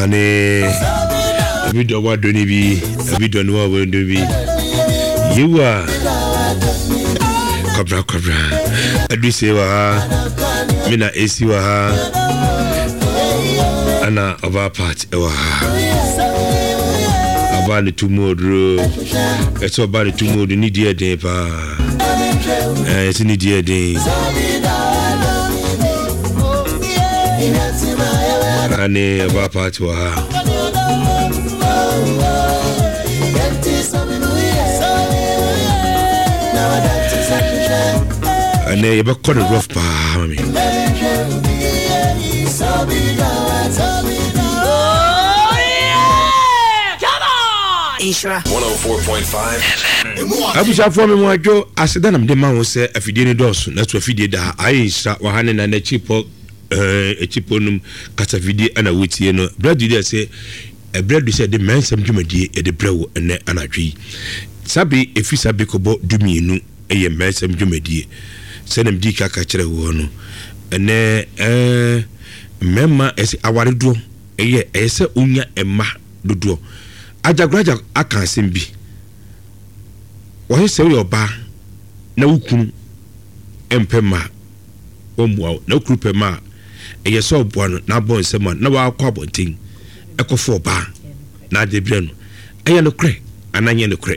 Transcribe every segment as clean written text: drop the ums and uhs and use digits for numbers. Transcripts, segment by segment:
Ane obi dɔ wa dɔ ne bi, obi dɔ ne wa dɔ ne bi. Yewa kwabra kwabra aduse wɔ ha, me na esi wɔ ha, ɛna ɔbaa part ɛwɔ ha. Ɔbaa ne tu mu oduro, ɛsɛ ɔbaa ne tu mu oduro ne di ɛden paa, ɛsɛ ne di ɛden. Ane ɛba party wɔ ha. Ɛnɛ yɛbɛkɔ no rough paa mami. Nhyira 104.5 FM. Abusuafoɔ me mo adwo aseda na mede ma wo sɛ afidie no dɔɔso na so afidie da ha ayɛ nhyira wɔ ha ne na n'akyi pɔ ɛɛ akyi pɔ num kasafidie ɛna wotie no berɛ du deɛ sɛ ɛberɛ du sɛ yɛde mmɛnsɛm dwumadie yɛde brɛ wo ɛnɛ anadwo yi sabe ɛfiri sabe kɔbɔ dumienu ɛyɛ mmɛnsɛm dwumadie sɛdeɛ medi ka ka kyerɛ woɔ no ɛnɛ ɛɛ mmarima ɛsɛ awaredoɔ ɛyɛ ɛyɛ sɛ wonya mma dodoɔ. Agyagoragya aka asɛm bi. Wɔse sɛ woyɛ ɔbaa na wo kunu mpɛ mma a, wɔmmoa wo. Na wo kunu pɛ mma a, ɛyɛ sɛ ɔboa no na abɔ nsam a na wakɔ abɔnten ɛkɔfa ɔbaa na ade brɛ no. Ɛyɛ nokorɛ anaa nyɛ nokorɛ?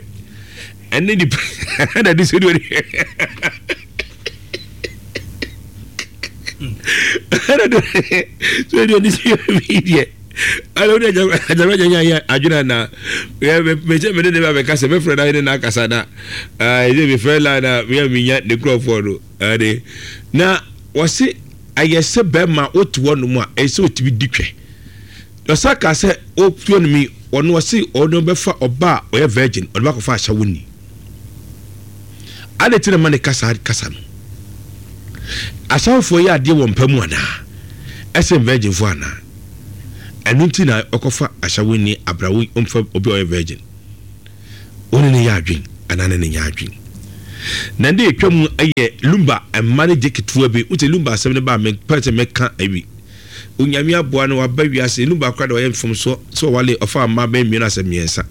Ɛne nipa na de sɛ ɛna de sɛ deɛ ne sɛ bi deɛ ɛna wode agyama nya yɛ adwene anaa mekyɛ mene ne ba bɛka sɛ mɛfrɛ no ne no akasa na ɛsɛ mefrɛ la na meyɛ menya ne nkurɔfoɔ no ɛde na wɔse ayɛ sɛ bɛrima wote hɔ nom a ɛsɛ sɛ wotumi di twɛ ɔsa ka sɛ wotuo no mi ɔno ɔse ɔno bɛfa ɔba a ɔyɛ virgin ɔde bakɔfa ahyɛ wo ni Adɛn nti na ɛma ne ka saa kasa no? Asawofoɔ yɛ adeɛ wɔ mpa mu anaa? Ɛsen virginfoɔ anaa? Ɛno nti na ɔkɔfa asawoni abra wo ɔmfa obi a ɔyɛ virgin. Wo ne no yɛ adwen anaa ne no nyɛ adwen? Na nde etwa mu yɛ Lumba mma no gye ketewa bi. Wote Lumba asɛm no ba a mempɛ sɛ mɛka awi. Onyame aboa no waba wiase. Lumba koraa de ɔyɛ mfomsoɔ sɛ ɔwale ɔfaa mma bɛyɛ mmienu asɛ mmiɛnsa.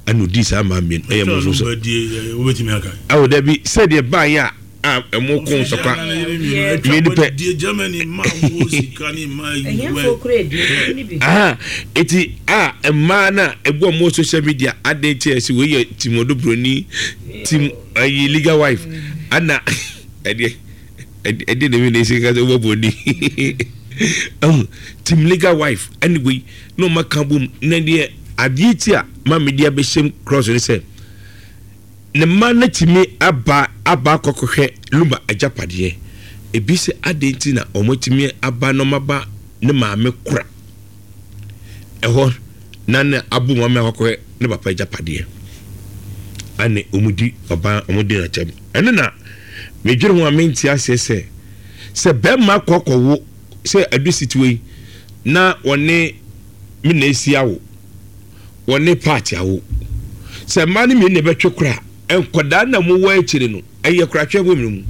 ɛna odii saa mmaa mmienu ɛyɛ mo nso so awo dabi sɛdeɛ baayɛ a a ɛmo ko ntɔkwa mmienu pɛ aha eti a mmaa na ebu ɔmo social media adan ti ɛsi wei yɛ tim odo broni tim ayi legal wife ana ɛdeɛ ɛdeɛ na ebi na esi kasa ɔbɔ broni ɛho tim legal wife ɛne wei. na wɔn aka bom na deɛ adeɛ ti a ma mede abɛhyɛm cross ne sɛ ne mma no tumi aba aba akɔkɔhwɛ Lumba agyapadeɛ ebi sɛ adeɛ nti na wɔn atumi aba na wɔn aba ne maame kora ɛhɔ na ne abo wɔn maame akɔkɔhwɛ ne papa agyapadeɛ ane wɔn di ɔban wɔn di n'akyɛm ɛno na medwene ho a mente aseɛ sɛ sɛ bɛrima kɔkɔwo sɛ adu sitiwa yi na wɔne me na esi awo, wɔne Pat awo. Sɛ mmaa no mmienu na ɛbɛtwe kora a, nkwadaa na wɔwɔ akyire no, ɛyɛ koratwe wɔ mu.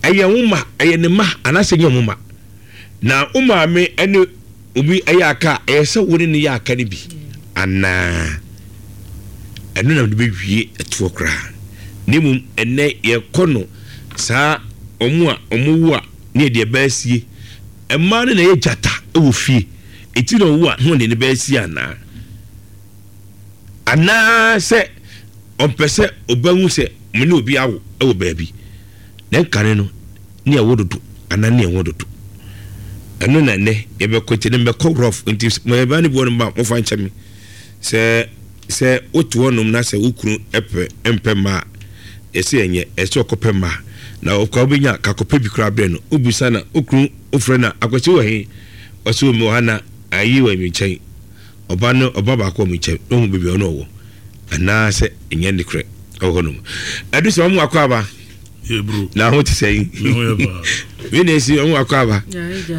Ɛyɛ wo ma, ɛyɛ ne ma anaasɛ ɛnyɛ wo ma. Na wo maame ne obi ɛyɛ aka a, ɛyɛ sɛ wo ne no yɛ aka no bi anaa? Ɛno na mede bɛwie ɛtoɔ koraa. Na mmom ɛnnɛ yɛkɔ no saa wɔn a wɔwo a ne yɛde ɛbɛ asie. Mmaa no na ɛyɛ gyata wɔ fie, eti na ɔwo a na ɔde ne ba asie anaa? Anaa sɛ ɔmpɛ sɛ ɔbɛhu sɛ me ne obi awo wɔ baabi, na nkane no ne ɛwo dodo anaa ne ɛwo dodo. Ɛno na ɛnɛ yɛbɛkɔ nti ne mbɛkɔ rough nti mɛba ne bi wɔ no ba mofa nkyɛ me. Sɛ sɛ wote hɔnom na sɛ wo kunu pɛ mpɛ mma a, ɛsɛ ɛnyɛ, ɛsɛ sɛ ɔkɔpɛ mma. Na ɔkɔ a wobɛnya ka kɔpɛ bi koraa brɛ no. Wobisa na wo kunu wofrɛ no a, Akwasi wɔ he? Ɔse o mewɔ ha na ayi wɔ me nkyɛn. Ɔba no ɔba baako wɔ me nkyɛn na wahu baabi a ɔne ɔwɔ. Anaasɛ ɛnyɛ nokorɛ wɔ hɔnom. Ɛdu sɛ wɔn akɔ aba. Na ho te sɛn? Me na esi wɔn akɔ aba.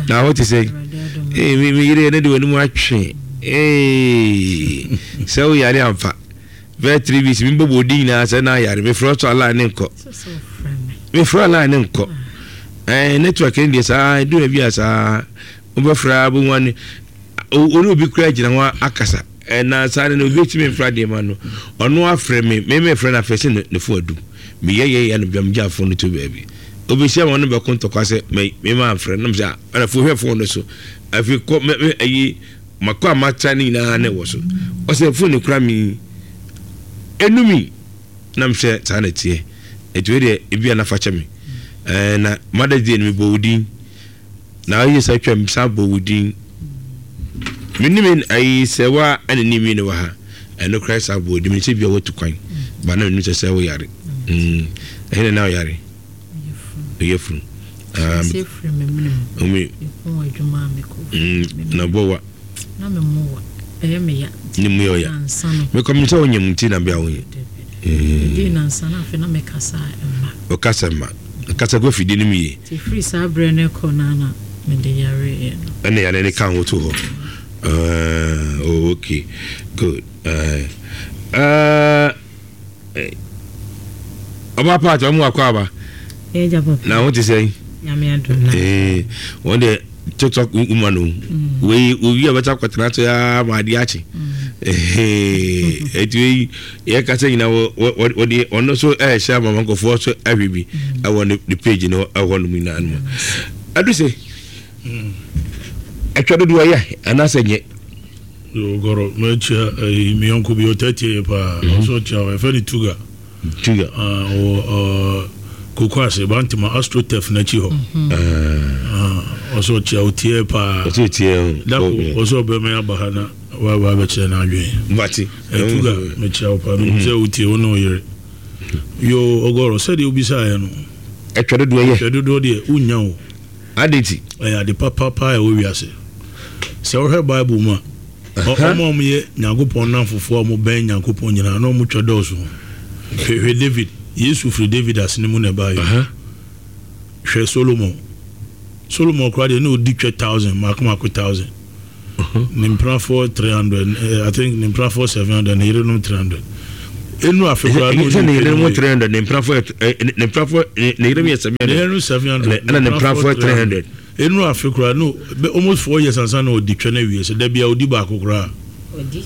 Na ho te sɛn? Ee me me yere ne de wɔn anim atwe. Ee sɛ wo yare ampa. Bɛyɛ 3 weeks mi bɔbɔ odi nyinaa sɛ na ayare me frɛ ɔtɔ ala ne nkɔ. Me frɛ ala ne nkɔ. Ɛɛ network ne deɛ saa edu baabi a saa wobɛfrɛ abɛhu ane. ɔne obi koraa gyina hɔ akasa. Na saa no obi tumi mfra adeɛ ma no. Ɔno afrɛ me, me mefrɛ no afrɛ sɛ ne fo adum. Meyɛ yɛ yɛ no bia megya fon no to baabi. Obehyia ma ɔno bɛko ntɔkwa sɛ me me ma mfrɛ no sɛ ɛna fo hwɛ fon no so. Afei kɔ me me ayi makɔ a matra ne nyinaa na ɛwɔ so. Ɔsɛ fon no kura mi. Enumi na mehwɛ saa na ɛteɛ. Ɛti wei deɛ ebi a na fa kyɛ me. Ɛɛ na Mother's Day no mebɔ wo din. Na ɔyɛ sɛ twam san bɔ wo din. Me ne me ayi sɛ wa ɛna ne mi ne wɔ ha. Ɛno koraa san bɔ wo din. Me sɛ bia watu kwan. Ba na menim sɛ sɛ wo yare. Mm. Ɛhe na na ɔyare? Ɔyɛ funu. Ah, me. Mm, na bɔ wa. Na me mu wa. Ɛyɛ me ya. Ne mu yɛ ɔya. Mekɔ me sɛ wonyɛ mu nti na bia wonyɛ. Ɛdii nansa na afei na mekasa mma. Ɔkasa mma. Kasa gu afidie no mu yie. Nti firi saa berɛ no rekɔ no ara na mede yareeɛ no. Ɛna yare no ka ho to hɔ. Uh, oh, okay. Good. Uh, uh, ɔba paati ɔmo akɔ aba. Ɛgya papa. Na ho te sɛn? Nyame adom na. Eh, wɔn deɛ tiktok woman o. Mm. Wei owi a bɛta akɔtena so ya ma adeɛ akye. Mm. Eti wei yɛ kasa nyina wɔ wɔ wɔde ɔno so ɛɛhyɛ ama nkɔfoɔ so ahwɛ bi mm. ɛwɔ ne ne page no ɛhɔ nom nyinaa no mu. Adu se atwa dodoɔ yɛ anaasɛ nyɛ. Ogoro mɛkyia ɛyi mi yɔnko bi ɔtɛ tie yɛ paa ɔsɔ ɔkyia ɔ yɛfɛ ne Tuga. Tuga. Ɔwɔ koko ase Bantama Astrotef n'akyi hɔ. Ɔsɔ ɔkyia ɔtie paa. Ɔsɔ ɔtie o. Dako ɔsɔ ɔbɛmɛ aba ha na waba abɛkyerɛ n'adwene. Mate. Tuga mekyia wo paa menim sɛ wotie wo ne wo yere. Yo Ogoro sɛdeɛ wobisaeɛ no. Ɛtwa dodoɔ yɛ. Ɛtwa dodoɔ deɛ wonnya o. Adɛn nti? Ɛyɛ ade papa paa a ɛwɔ wiase. Sɛ wohwɛ Bible mu a, wɔn a wɔyɛ Nyankopɔn nnamfofoɔ a wɔbɛn Nyankopɔn nyinaa, na wɔtwa dɔɔso. Hwɛ, hwɛ David. Yesu firi David asene mu na ɛbaeɛ. Hwɛ Solomon. Solomon koraa deɛ, na ɔdi twɛ thousand, mmaako mmaako thousand. Ne mpenafoɔ 300, eh, I think ne mpenafoɔ 700, ne yerenom 300. Enu afe koraa na ɔdi ne yerenom 300, ne mpenafoɔ eh, ne mpenafoɔ ne yerenom yɛ 700. Ne yerenom 700, ɛna ne mpenafoɔ 300. Enu afe koraa no almost 4 years ansa na ɔdi twɛ no awie sɛ da bia ɔdi baako koraa. Ɔdi.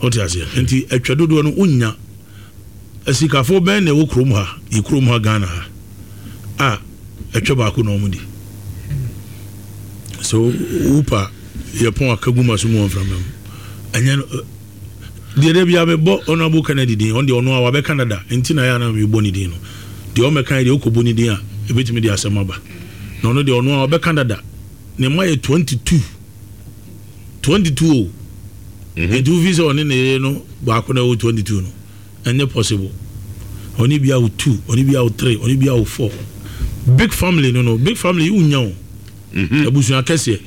Ɔte aseɛ. Nti atwa dodoɔ no wonya. Asikafoɔ bɛn na ɛwɔ kurom ha, yɛ kurom ha Ghana ha a ɛtwɛ baako na wɔn di. So wopa yɛ pɔn aka gu ma so mu wɔ mframa mu. Ɛnyɛ no deɛ da bia mebɔ Honorable Kennedy din, ɔno deɛ ɔno a wabɛka dada nti na ɛyɛ a na mebɔ ne din no. Deɛ ɔmmɛka yi deɛ wokɔbɔ ne din a ɛbɛtumi de asɛm aba. Na ɔno deɛ ɔno a wabɛka dada. Ne mma yɛ 22. 22 o. Nti wofi sɛ ɔne ne yere no baako na ɛwɔ 22 no, ɛnyɛ possible. Ɔne bi awo 2, ɔne bi awo 3, ɔne bi awo 4. Big family no no, big family yi wonya o. Abusua kɛseɛ.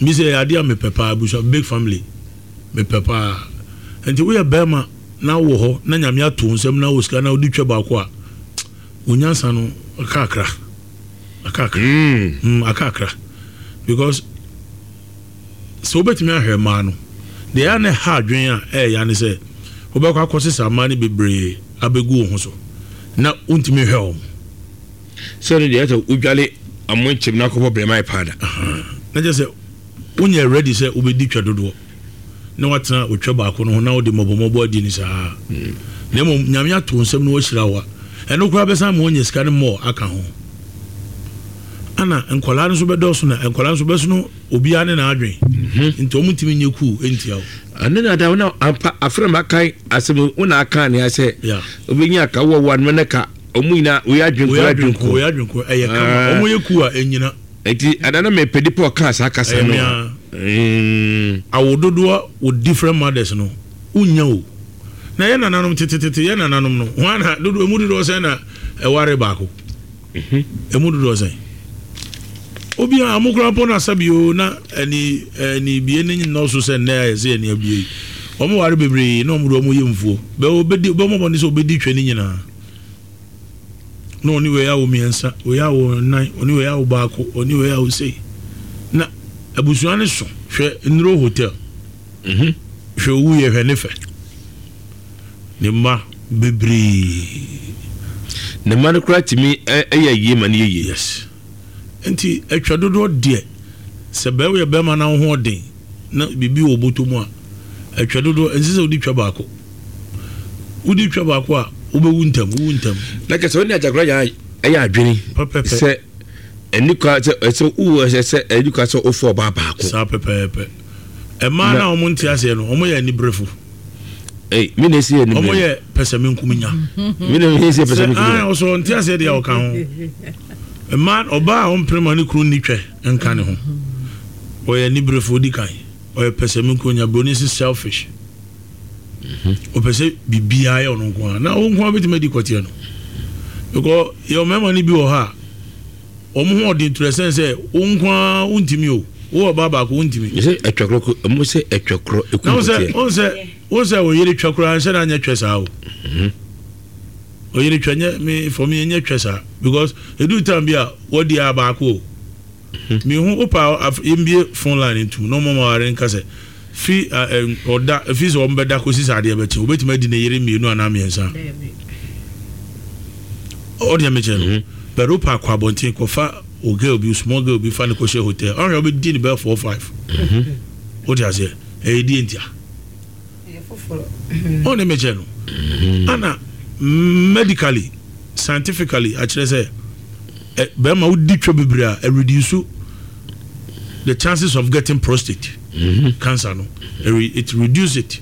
Bi sɛ ɛyɛ adeɛ a mepɛ paa, abusua big family mepɛ paa. Nti woyɛ bɛrima na wowɔ hɔ na Nyame ato wo nsam na wɔ sika na wode twa baako a, wo nyansa no kakra. Akakra. Mm, akakra. Because sɛ wobɛtumi ahwɛ mmaa no, deɛ ɛyɛ a na ɛha adwene a ɛyɛ ya ne sɛ wobɛkɔ akɔsesa mmaa no bebree abɛgu wo ho so na wontumi nhwɛ wɔn. Sɛ no deɛ ɛsɛ wodwale amoa nkyɛm na akɔbɔ brɛma yɛ paada. Na kyerɛ sɛ wonyɛ ready sɛ wobɛdi twa dodoɔ na watena otwa baako no ho na wode mmɔbɔmmɔbɔ adi no saa. Na mmom Nyame ato wo nsam na wahyira wo a, ɛno koraa bɛsan ma woanya sika no more aka ho. Ana nkwadaa no nso bɛdɔɔso na nkwadaa nso bɛsono obiara ne n'adwen. Nti wɔn ntumi nyɛ kuu ntia wo. Ɛno na da na ampa afra ma kan asɛm wo na aka ne asɛ. Obenya ka wo wo anoma ne ka ɔmo nyinaa oyɛ adwen koro adwen koro. Oyɛ adwen koro ɛyɛ kama. Ɔmo yɛ kuu a ɛnyina. Nti ada na mepɛ nipa ɔkaa saa kasa no. Awo dodoɔ wɔ different mothers no wonya o. Na yɛ nananom tetetete yɛ nananom no hwan na dodoɔ emu dodoɔ sɛn na ɛware baako? Emu dodoɔ sɛn? Obiara ɔmo koraa mpo na sɛbi o na ɛni ɛni bie ne nnɔɔso sɛ nnɛ ayɛ sɛ ɛni abie yi. Ɔmo ware bebree na ɔmo de ɔmo yɛ mfuo. Bɛ obedi bɛ ɔmo bɔ ne sɛ obedi twɛ ne nyinaa. Na ɔne wei awo mmiɛnsa, wei awo nnan, ɔne wei awo baako, ɔne wei awo sei. Na abusua no so hwɛ Nnuro Hotel. Mhm. Hwɛ owu yɛ hwɛ ne fɛ. Ne mma bebree. Ne mma no koraa tumi yɛ yie ma no yɛ yie. Yes. Nti atwa dodoɔ deɛ sɛ bɛyɛ bɛrima na wo ho ɔden. na biribi wɔ wo bɔtɔ mu a, ɛtwɛ dodoɔ, ɛnsɛ sɛ wode twa baako. Wode twa baako a, wobɛwu ntɛm, wowu ntɛm. Na kyerɛ sɛ wo ne Agyakora yɛ ɛyɛ adwene sɛ ɛni kwa sɛ ɛsɛ wo ɛsɛ sɛ ɛni kwa sɛ wofɔ ɔbaa baako. Saa pɛpɛɛpɛ. Mmaa no a wɔn nte aseɛ no, wɔn yɛ aniberefo. Ei, me na esi yɛ anibere. Wɔn yɛ pɛsɛmenkominya. Me na esi yɛ pɛsɛmenkominya. Sɛ an ɔsɔ nte aseɛ deɛ ɔka ho. Mmaa ɔbaa a ɔmpere ma ne kunu nni twɛ nka ne ho. Ɔyɛ aniberefo odi kan. Ɔyɛ pɛsɛmenkominya. Broni se selfish. Ɔpɛ sɛ biribiara yɛ ɔno nko ara. Na wo nko ara bɛtumi adi kɔteɛ no. Because yɛ mmarima no bi wɔ hɔ a. Wɔn ho ɔden to the sense sɛ wo nko ara wontumi o. Wo ɔbaa baako wontumi. Yɛsɛ ɛtwa korɔ ko ɛmu sɛ ɛtwa korɔ eku Na wo sɛ wo sɛ wo sɛ wo yere twa koraa nhyɛ da nyɛ twɛ saa o. Oyere twa nyɛ me for me nyɛ twɛ saa because edu time bi a wɔdi a baako o. Me hu wo pa yɛmbie phone line ntum na ɔmo ma ware nka sɛ Fi ɔda, fi sɛ wɔbɛda kɔsi sɛ adeɛ bɛkye, wobɛtumi adi ne yere mmienu anaa mmiɛnsa. Ɔdeɛ mekyɛ no, mhm. but wopɛ akɔ abɔnten kɔfa o girl bi, small girl bi fa ne kɔhyɛ hotel, ɔhwɛ wobɛdi ne bɛyɛ 4 5. Mhm. Wote aseɛ, ɛyɛ die ntia. Ɔne mekyɛ no, mhm. ana medically, scientifically akyerɛ sɛ bɛrima wodi twa bebree a, ɛreduce the chances of getting prostate mm-hmm. cancer no it reduce it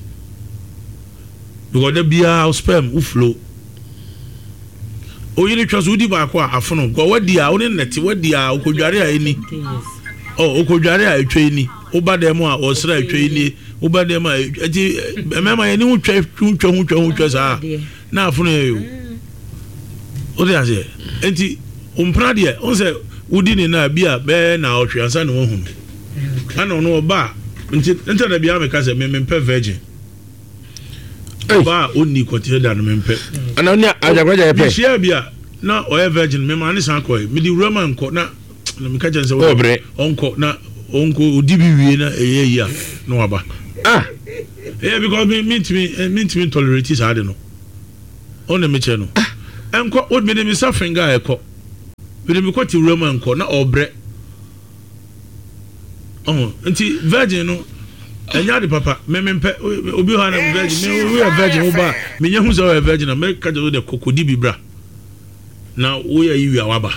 because da biara sperm wo flow oyere twa so wodi baako a afono because wadi a wone nnɛte wadi a okodware a ɛni ɔ okodware a ɛtwa ɛni woba dɛm a ɔsra ɛtwa ɛni woba dɛm a ɛti mmarima yɛne ho twa ho twa ho twa ho twa saa na afono yɛ o Wote aseɛ? Enti wo mpena deɛ, wohu sɛ wodi ne na bi a bɛyɛ naawɔtwe ansa na woahu no. Ɛna ɔno ɔba a, nti nti na biara meka sɛ me mempɛ virgin. Ɔba a ɔnni kɔteɛ da no mempɛ. Ɛna ɔne agyakoragya yɛ pɛ. Mehyia bi a na ɔyɛ virgin, mema ne san kɔe. Mede wura ma nkɔ na na meka kyerɛ no sɛ ɔnkɔ na ɔnkɔ ɔdi bi wie na ɛyɛ yi a na waba. Ah! Yeah, because me mentumi mentumi tolerate saa de no. Wo ne me kyɛ no. Ɛnkɔ, wo mede me nsa finger a ɛkɔ. Mede me kɔ te wuram a ɛnkɔ, na ɔbrɛ. Ɔho, nti virgin no, ɛnyɛ ade papa. Me me mpɛ, obi hɔ a na virgin, me wo yɛ virgin wo ba, me nya hu sɛ ɔyɛ virgin a, mɛ ka kyerɛ wo dɛ kɔ kɔdi bi bra. Na wo yɛ yi wie a waba.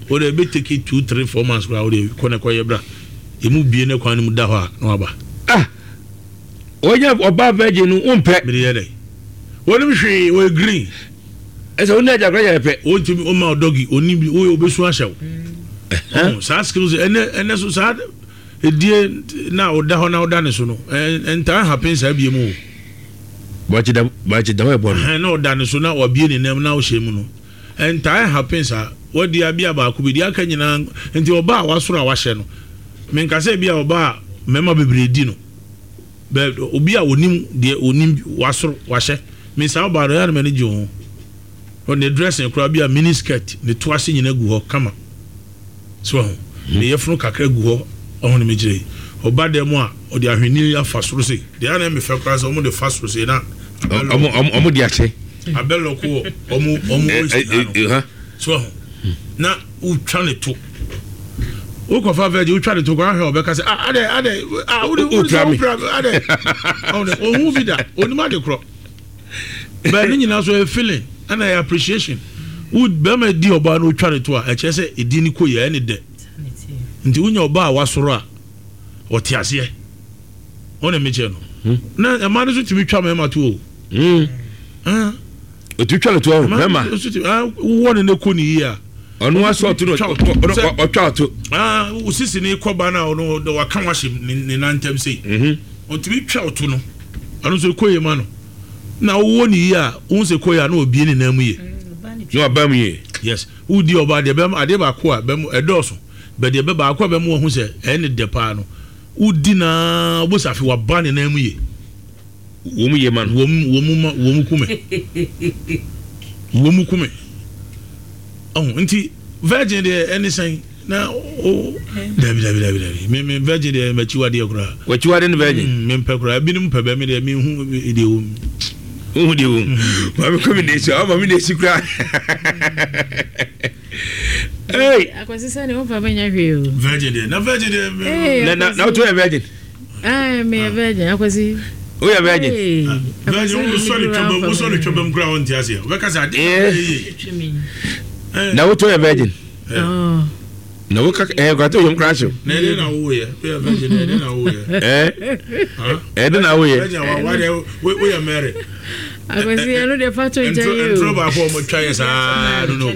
Wo dɛ ebe take 2, 3, 4 months koraa wo de kɔ na kɔ yɛ bra. Emu bie ne kwan no mu da hɔ a na waba. Ah! Wɔnyɛ ɔbaa virgin no wompɛ. Mede yɛ dɛn? Wɔnim hwee, wɔyɛ green. Ɛsɛ wo ne agya koraa yɛ pɛ. Wɔntumi ɔma ɔdɔgi, ɔnim bi, woyɛ ɔbɛsu ahyɛ wo. Ɔho saa skills ɛnɛ ɛnɛ so saa edie na ɔda hɔ na ɔda ne so no ɛntaa happen saa bie mu o. Bɔkye da bɔkye da hɔ ɛbɔ no. Ɛhɛn na ɔda ne so na wabie ne nam na ɔhyɛ mu no ɛntaa happen saa. Wadi abia baako bi deɛ aka nyinaa nti ɔbaa a wasoro a wahyɛ no menka sɛ ebi a ɔbaa a mmarima bebree di no. Bɛ obi a onim deɛ onim wasoro wahyɛ me saa ɔbaa no ɛyɛ a na m'ani gye ho hɔ ne dressing koraa bi a mini skirt ne to ase nyina gu hɔ kama so ho ne yɛfono kakra gu hɔ ɔho ne mekyerɛ yi ɔba dɛm a ɔde ahwenni afa soro sei deɛ ana ɛmɛ fɛ koraa sɛ ɔmo de fa soro sei na ɔmo de ahyɛ abɛlɔko wɔ ɔmo ɔmo waist ha no so ho na wotwa ne to wokɔfa virgin wotwa ne to kɔ ahwɛ ɔbɛka sɛ ah adɛ adɛ ah wode wode sɛ wopira me adɛ ɔne ɔhu bi da onim ade korɔ bɛɛ ne nyinaa so ɛyɛ feeling ɛna ɛyɛ appreciation wo bɛrima di ɔbaa no wotwa ne to a ɛkyerɛ sɛ ɛdi ne kɔ yɛ ɛne dɛ nti wonya ɔbaa a wasoro a ɔte aseɛ ɔne mekyɛ no hmm. na ɛma no so tumi twa mɛma to o hmm. ah. Ɔtumi twa no to ɔho mɛma wowɔ ne ne kɔ ne yie a ɔno asɔ ɔto no ɔtwa ɔto osisi ne kɔba no a ɔno waka wahyɛ ne nan ntam sei mhm. ɔtumi twa ɔto no ɔno nso kɔ yie ma no na wowɔ ne yie a wohu sɛ kɔ yie a na ɔbie ne nan mu yie na waba mu yie yes wodi ɔba deɛ bɛm adeɛ baako a bɛm ɛdɔɔso bɛ deɛ bɛ baako a bɛm wɔn ho sɛ ɛyɛ ne dɛ paa no wodi naa wobɛsɛ afe waba ne nan mu yie Wɔn yɛ ma no. Wɔn wɔn ma wɔn ku me. Wɔn ku me. Ɔho nti virgin deɛ ɛne sɛn na o dabi dabi dabi dabi me me virgin deɛ m'akyiwadeɛ koraa. W'akyiwadeɛ ne virgin. Mm, me mpɛ koraa ebinom pɛ bɛ me deɛ me hu deɛ wɔ mu. Wohu deɛ wɔ mu. Maame kɔ mi na esi ɔma mi na esi koraa. Hey. Akwasi sɛ ne wofa bɛnya hwee o. Virgin deɛ na virgin deɛ. Na na na wotu yɛ virgin. Ɛɛ meyɛ virgin akwasi. Woyɛ virgin. Virgin wosɔ ne twɛbam wosɔ ne twɛbam kura wɔn ti aseɛ wobɛka sɛ ade na ɛyɛ yie. Na wotɔ yɛ virgin. Na woka ɛɛ kura to yom kura hyew. Na ɛde na woyɛ woyɛ virgin na ɛde na woyɛ. Ɛɛ ɛde na woyɛ. Virgin wa wa deɛ woyɛ Mary. Akwasi ɛno deɛ fa to nkyɛn yi o. Ntoro baako a wɔn twa yɛ saa no no.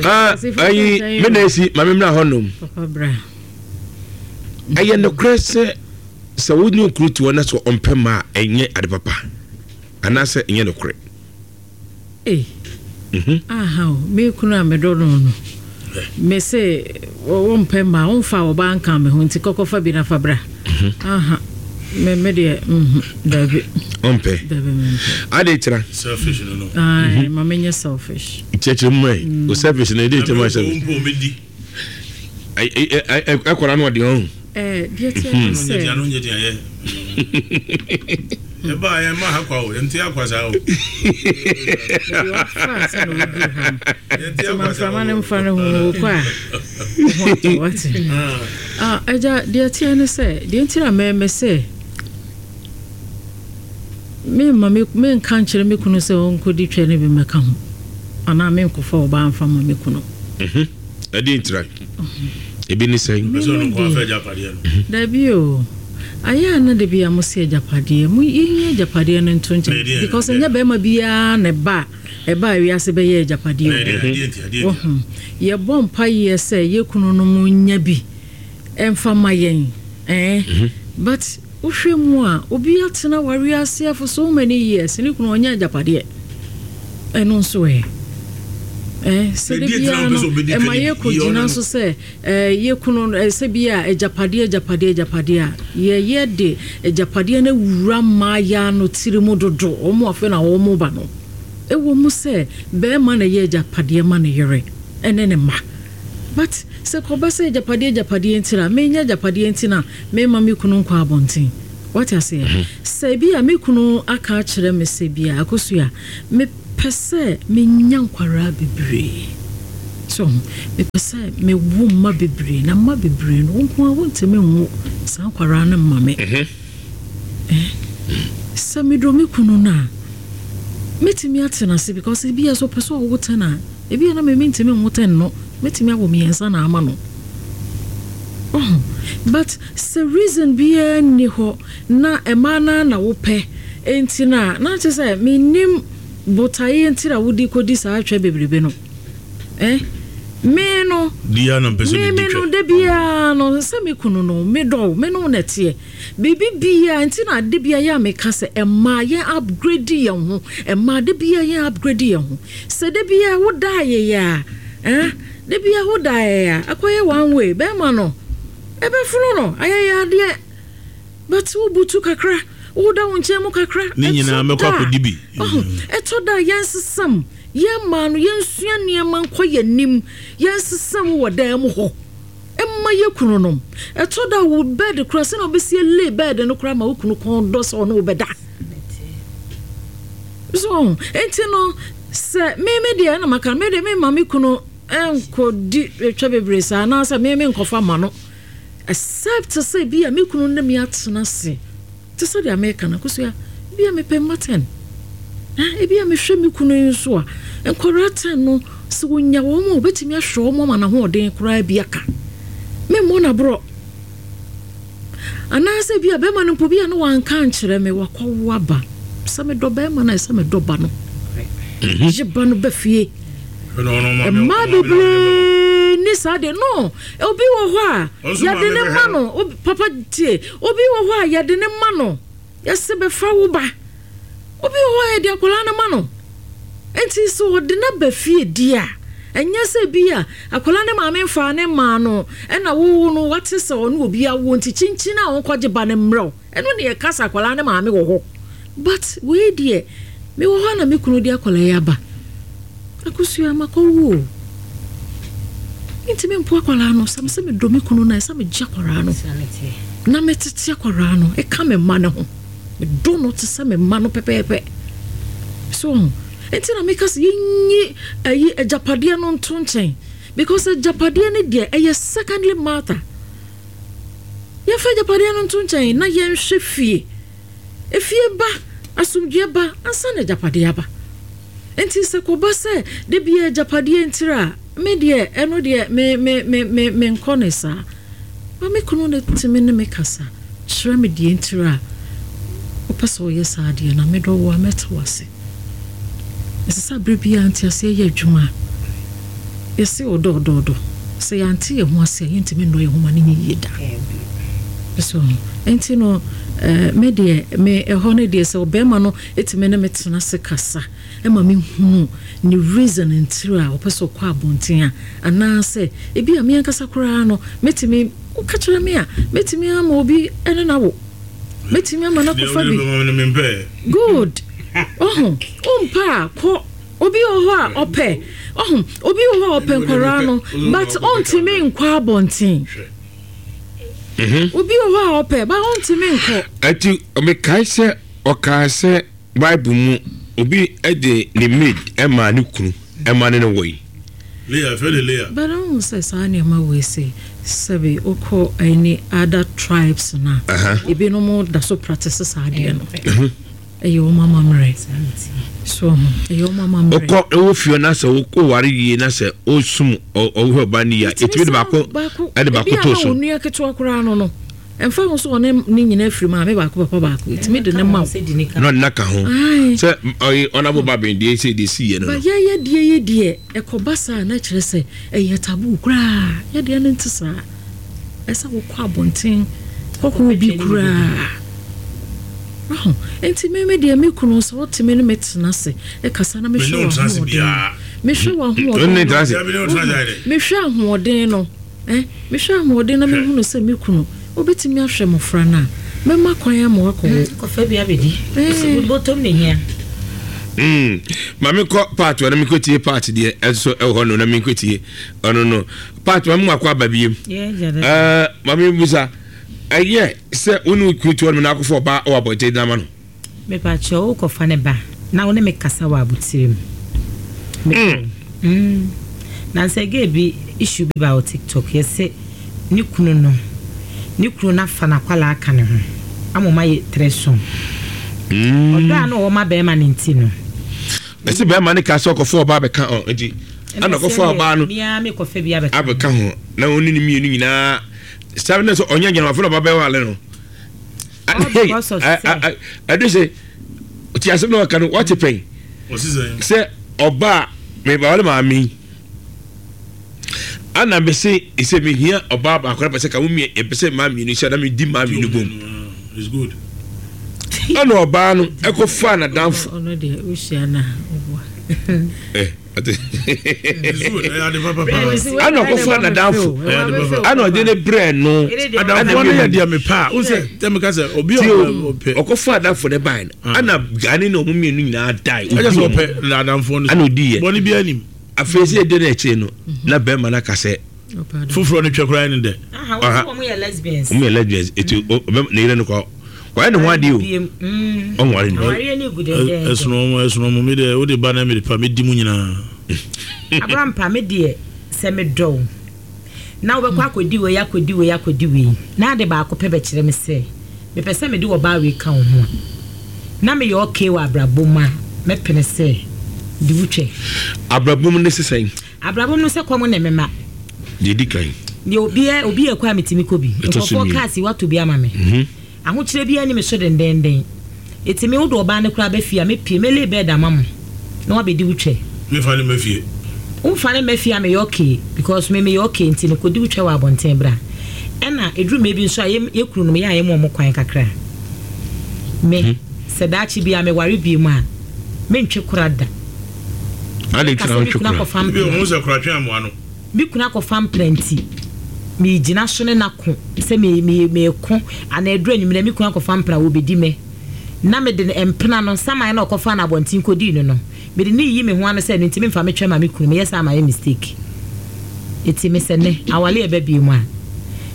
Ah ayi me na esi maame mìíràn hɔ nom. Papa bra. Ɛyɛ nokorɛ sɛ sɛ wo ne okunu te hɔ na sɛ ɔmpɛ mma a ɛnyɛ ade papa anaasɛ ɛnyɛ nokorɛ? Ei, aha o, me kunu a medɔ no no, me se wompɛ mma, womfa ɔbaa nka me ho nti kɔkɔfa bi na fa bra. Aha, me me deɛ, mhm, dabi. Ɔmpɛ. Dabi mempɛ. Ade kyerɛ. Selfish no no. Ae, ma menyɛ selfish. Kyerɛkyerɛ mu ɛ, o selfish no, ɛde kyerɛ mu selfish. Ɛkɔra no ɔde ɔho. Deɛ teɛ ne sɛ. Ano nyɛ deɛ yɛ. Ɛba yɛ ma ha kwa o, yɛnte akwa saa o. Ebi wafa ansa na woduru ha no. Nti ma mframa no mfa no ho wokɔ a. Ho atɔ wate. Agya deɛ teɛ ne sɛ deɛ nti na mɛmɛ sɛ Meremma me merenka nkyerɛ me kunu sɛ ɔnkɔdi twɛ no bi mmɛka ho, anaa merenkɔfa ɔbaa mfa mma me kunu. Mhm. Ɛdeɛn ntira? Ebi ne sɛn? Me no deɛ, dabi o. Ayɛ a na da bi a mo se agyapadeɛ, mo yɛnyi agyapadeɛ no nto nkyɛn because ɛnyɛ bɛrima biara na ɛba a ɛba a wiase bɛyɛ agyapadeɛ o. Wohu? Yɛbɔ mpaeɛ sɛ yɛ kununom nya bi mfa ma yɛn, eh, but Wohwɛ mu a, obi atena awareɛ ase for so many years, ne kunu ɔnyɛ agyapadeɛ. Ɛno nso ɛ? Ɛ, sɛ da biara no, ɛma yɛkɔgyina so sɛ ɛ, yɛ kunu no, sɛ bi a agyapadeɛ, agyapadeɛ, agyapadeɛ a, yɛyɛ de agyapadeɛ no awura mmaayaa no tiri mu dodo, wɔn afei na wɔn ba no. Ɛwɔ mu sɛ barima na ɛyɛ agyapadeɛ ma ne yere ne ne mma. But sɛ kɔba sɛ agyapadeɛ agyapadeɛ nti na menya agyapadeɛ nti na memma me kunu nkɔ abɔnten. Wate aseɛ? Sɛ ebi a me kunu aka akyerɛ me sɛ bi a Akosua, mepɛ sɛ menya nkwadaa bebree. So ho? Mepɛ sɛ mewo mma bebree, na mma bebree no, wo nko ara wontumi nwo saa nkwadaa no mma me. Eh? Sɛ medɔ me kunu no a, mɛtumi atena ase because ebi a sɛ ɔpɛ sɛ ɔwo ten a, Ebia na me mentumi nwo ten no, mɛtumi awo miɛnsa na ama no. Wohu? But sɛ reason biara nni hɔ na mmaa no ara na wopɛ nti no a, na kyerɛ sɛ mennim botaeɛ nti na wode kɔdi saa twɛ bebrebe no. Eh? Me no, Di ara na mpɛ sɛ me medi me no twɛ. da biara no, sɛ me kunu no, medɔ wo, me ne wo na ɛteɛ. Biribi biara nti na da biara yɛ a meka sɛ mmaa yɛn upgrade yɛn ho, mmaa da biara yɛn upgrade yɛn ho. Sɛ da biara wo da ayeyɛ a eh, da biara wo da ayeyɛ a, akɔyɛ one way, bɛɛma no ɛbɛfono no ayɛyɛ adeɛ, but wo butu kakra, wo da wo nkyɛn mu kakra, Ne nyinaa ɛtɔ mɛkɔ da a, akɔdi bi. ɔho, ɛtɔ da a yɛnsesam, yɛn mmaa no yɛnsua nneɛma nkɔ yɛn anim, yɛnsesam wɔ dan mu hɔ mma yɛn kununom, ɛtɔ da a wo bed koraa sɛnea wobɛsi alay bed no koraa ma wo kunu kɔn dɔ sɛ ɔne wo bɛda. So ɔho? Enti no, sɛ me me deɛ ɛna maka no, me deɛ memma me kunu nkɔdi twa bebree saa anaasɛ me menkɔfa ma no except sɛ bi a me kunu ne me atena ase te sɛ deɛ meka no akosua bi a mepɛ mma ten na ebi a mehwɛ me kunu yi nso a nkwadaa ten no sɛ wɔnya wɔn a wɔbɛtumi ahwɛ wɔn ama n'ahoɔden koraa bi aka memmɔ no aborɔ. Anaasɛ ebia bɛrima no mpo bi a na wanka ankyerɛ me, wakɔwo aba. Sɛ medɔ bɛrima no a, ɛsɛ medɔ ba no. Gye ba no ba fie. Mmaa bebree ni saa deɛ no. Obi wɔ hɔ a yɛde ne ma no. Papa tie. Obi wɔ hɔ a yɛde ne ma no. Yɛse bɛfa wo ba. Obi wɔ hɔ a yɛde akwadaa no ma no. Enti sɛ ɔde no aba fie di a, ɛnyɛ sɛ bi a akwadaa no maame mfaa no mmaa no ɛna wo no wate sɛ ɔne obi awo nti kyinkyin a ɔnkɔgye ba no mmerɛ wo. Ɛno ne yɛka sɛ akwadaa no maame wɔ hɔ. But wei deɛ, mewɔ hɔ a na me kunu de akwadaa yi aba. Akosua, makɔwo o. Mentumi mpo akwadaa no. Sɛ mesɛ medɔ me kunu no a, ɛsɛ megye akwadaa no na metete akwadaa no ɛka me mma no ho. Medɔ no te sɛ me mma no pɛpɛɛpɛ. So ho. Nti na meka sɛ yɛnyi ayi agyapadeɛ no nto nkyɛn because agyapadeɛ no deɛ ɛyɛ secondly matter. Yɛmfa agyapadeɛ no nto nkyɛn na yɛnhwɛ fie. Efie ba, asomdwoeɛ ba ansa na agyapadeɛ aba. Enti sɛ kɔba sɛ da biara agyapadeɛ ntira a, me deɛ ɛno deɛ me me me me menkɔ ne saa. Ba me kunu no tumi ne me kasa kyerɛ me deɛ ntira a ɔpɛ sɛ ɔyɛ saa adeɛ no a, medɔ wo a mɛte wo ase. Ɛsɛ sɛ berɛ biara nteaseɛ yɛ adwuma. Yɛse ɔdɔ ɔdɔ ɔdɔ. Sɛ yɛante yɛn ho ase a, yɛntumi nnɔ yɛn ho ma no nyɛ yie da. So ho? Enti no, me deɛ, me ɛhɔ no deɛ sɛ ɔbarima no tumi ne me tena ase kasa ma mehunu ne reason ntiri a ɔpɛ sɛ ɔkɔ abɔnten a, anaasɛ ebi a me ankasa koraa no, mɛtumi, woka kyerɛ me a, mɛtumi ama obi ne no awo. Mɛtumi ama no akɔfa bi. Good. Ɔho, wompɛ a, kɔ. Obi wɔ hɔ a ɔpɛ. Ɔho, obi wɔ hɔ a ɔpɛ nkwaraa no, but ɔntumi nkɔ abɔnten. Mhm. Obi wɔ hɔ a ɔpɛ, but ɔntumi nkɔ. Ɛti, mekae sɛ ɔkaa sɛ Bible mu obi de ne maid maa ne kunu ma ne no woe. Leah, yɛfrɛ no Leah. But wohu sɛ saa nneɛma wei sei, sɛbe wokɔ any other tribes no a, ebinom da so practice saa adeɛ no. Ɛyɛ wɔn amammerɛ. So ho, ɛyɛ wɔn amammerɛ. Wokɔ wɔ fie na sɛ woware yie na sɛ wosum ɔwohwɛ ɔba no yie a, ɛtumi de baako ɛde baako to so. Ebi a na onua ketewa koraa no no. Ɛmfa ho sɛ ɔne ne nyinaa firi maame baako papa baako, ɛtumi de ne ma wo. Na ɔde no aka ho. Sɛ ɔyɛ ɔnabo ba bɛn deɛ sɛ deɛ si yɛ no no. Ba yɛyɛ deɛ yi deɛ ɛkɔba saa na kyerɛ sɛ ɛyɛ taboo koraa. Yɛ deɛ no nte saa. Ɛsɛ wokɔ abɔnten kɔhɔ obi koraa. Waho? Nti me me deɛ me kunu sɛ ɔte me ne me tena ase ɛkasa na mehwɛ w'ahoɔden no. Mehwɛ w'ahoɔden no. Mehwɛ ahoɔden no. Ɛ, mehwɛ ahoɔden na mehunu sɛ me kunu, ɔbɛtumi ahwɛ mmɔfra no a, mɛma kwan ama wakɔwo. Kɔfa bi abɛdi. Ɛɛ. Bɔtɔm na ehia. Mm, ma menkɔ part na menkɔtie part deɛ ɛnso ɛwɔ hɔ no na menkɔtie ɔno no part ma mewakɔ aba biem. Ɛɛ, ma mebusa ɛyɛ sɛ wo ne wo kunu te hɔ nom na akɔfa ɔbaa wɔ abɔnten de ama no? Mepakyɛw wo kɔfa ne ba na wo ne me kasa wɔ abotire mu. Mepɛ wo. Mm. Nansa gay bi issue bi baa wɔ TikTok yɛse ne kunu no ne kunu no afa n'akwalaa aka ne ho ama ɔmo ayɛ threesome. Ɔdɔ a na ɔwɔ ma bɛɛma no nti no. Ɛse bɛɛma no kaa sɛ ɔkɔfa ɔbaa bɛka ɔ nti ɛna ɔkɔfa ɔbaa no abɛka ho na ɔne ne mmienu nyinaa saa na sɛ ɔnyɛ gyinamafo na ɔba bɛwale no. Ɛde sɛ ti asɛm na ɔka no wate pɛn sɛ ɔbaa mebawale maame yi ana mese sɛ mehia ɔbaa baako na pɛ sɛ ka wo mmiɛ ɛpɛ sɛ maa mmienu hyɛ na medi maa mmienu bom ɛna ɔbaa no ɛkɔ faa n'adamfo Ana ɔkɔfa n'adamfo ana ɔde ne brɛ no. Adamfo no yɛ deɛ mepɛ a wosɛ tɛ meka sɛ obi a ɔpɛ. Ɔkɔfa adamfo ne ban no ana gane na ɔmo mmienu nyinaa dae. Ɛyɛ sɛ ɔpɛ adamfo no. Ana odi yɛ. Bɔne bi anim. Afei sɛ ɛdi n'akyire no na bɛrima no aka sɛ. Foforɔ no twɛ koraa ne dɛ. Wɔn yɛ lesbians. Wɔn yɛ lesbians eti ne yere no kɔ wɔyɛ ne ho adeɛ o. Ɔnware no. Ɛsono wɔn ɛsono wɔn mi deɛ o de ba na mi de pa mi di mu nyinaa. Abrampa me deɛ sɛ me dɔ wo na wobɛkɔ akɔdi wei akɔdi wei akɔdi wei na ade baako pɛ bɛkyerɛ me sɛ mepɛ sɛ mede ɔbaa wei ka wo ho a na meyɛ okay wɔ abrabɔ mu a mɛpene sɛ di wo twɛ. Abrabɔ mu ne sesɛn? Abrabɔ mu no sɛ kɔm ne me ma. Deɛ ɛdi kan. Deɛ obiara obi yɛ kɔ a metumi kɔ bi. Nkurɔfoɔ cars yi watɔ bi ama me. Ahokyerɛ biara nni me so dendenden. Eti me wode ɔbaa no koraa ba fie a mɛpue mɛ lay bed ama mo na wabɛdi wo twɛ. Memfa no mma fie. Womfa no mma fie a meyɛ okay because me meyɛ okay nti no kɔdi wo twɛ wɔ abɔnten bra. Ɛna ɛduru mmerɛ bi nso a yɛ yɛ kununom yɛ a yɛma wɔn kwan kakra. Me sɛ daakye biara meware bio a mentwe kora da. Adɛn nti na Meka sɛ wontwe me kunu kora? akɔfa Ebi mpena. ɔhu sɛ koratwe amoa no. Me kunu akɔfa mpena nti, meregyina so ne no ako sɛ me, me, mereko anaa ɛduru anwummerɛ me kunu akɔfa mpena, wɔbɛdi me. Na mede no, mpena no, saman no a ɔkɔfaa no abɔnten kɔdii no no, mede no reyi me ho ano sɛ ɛno nti memfa metwɛn ma me kunu, meyɛ saa a mayɛ mistake. Enti me sɛ nnɛ, aware a ɛba bio mu a,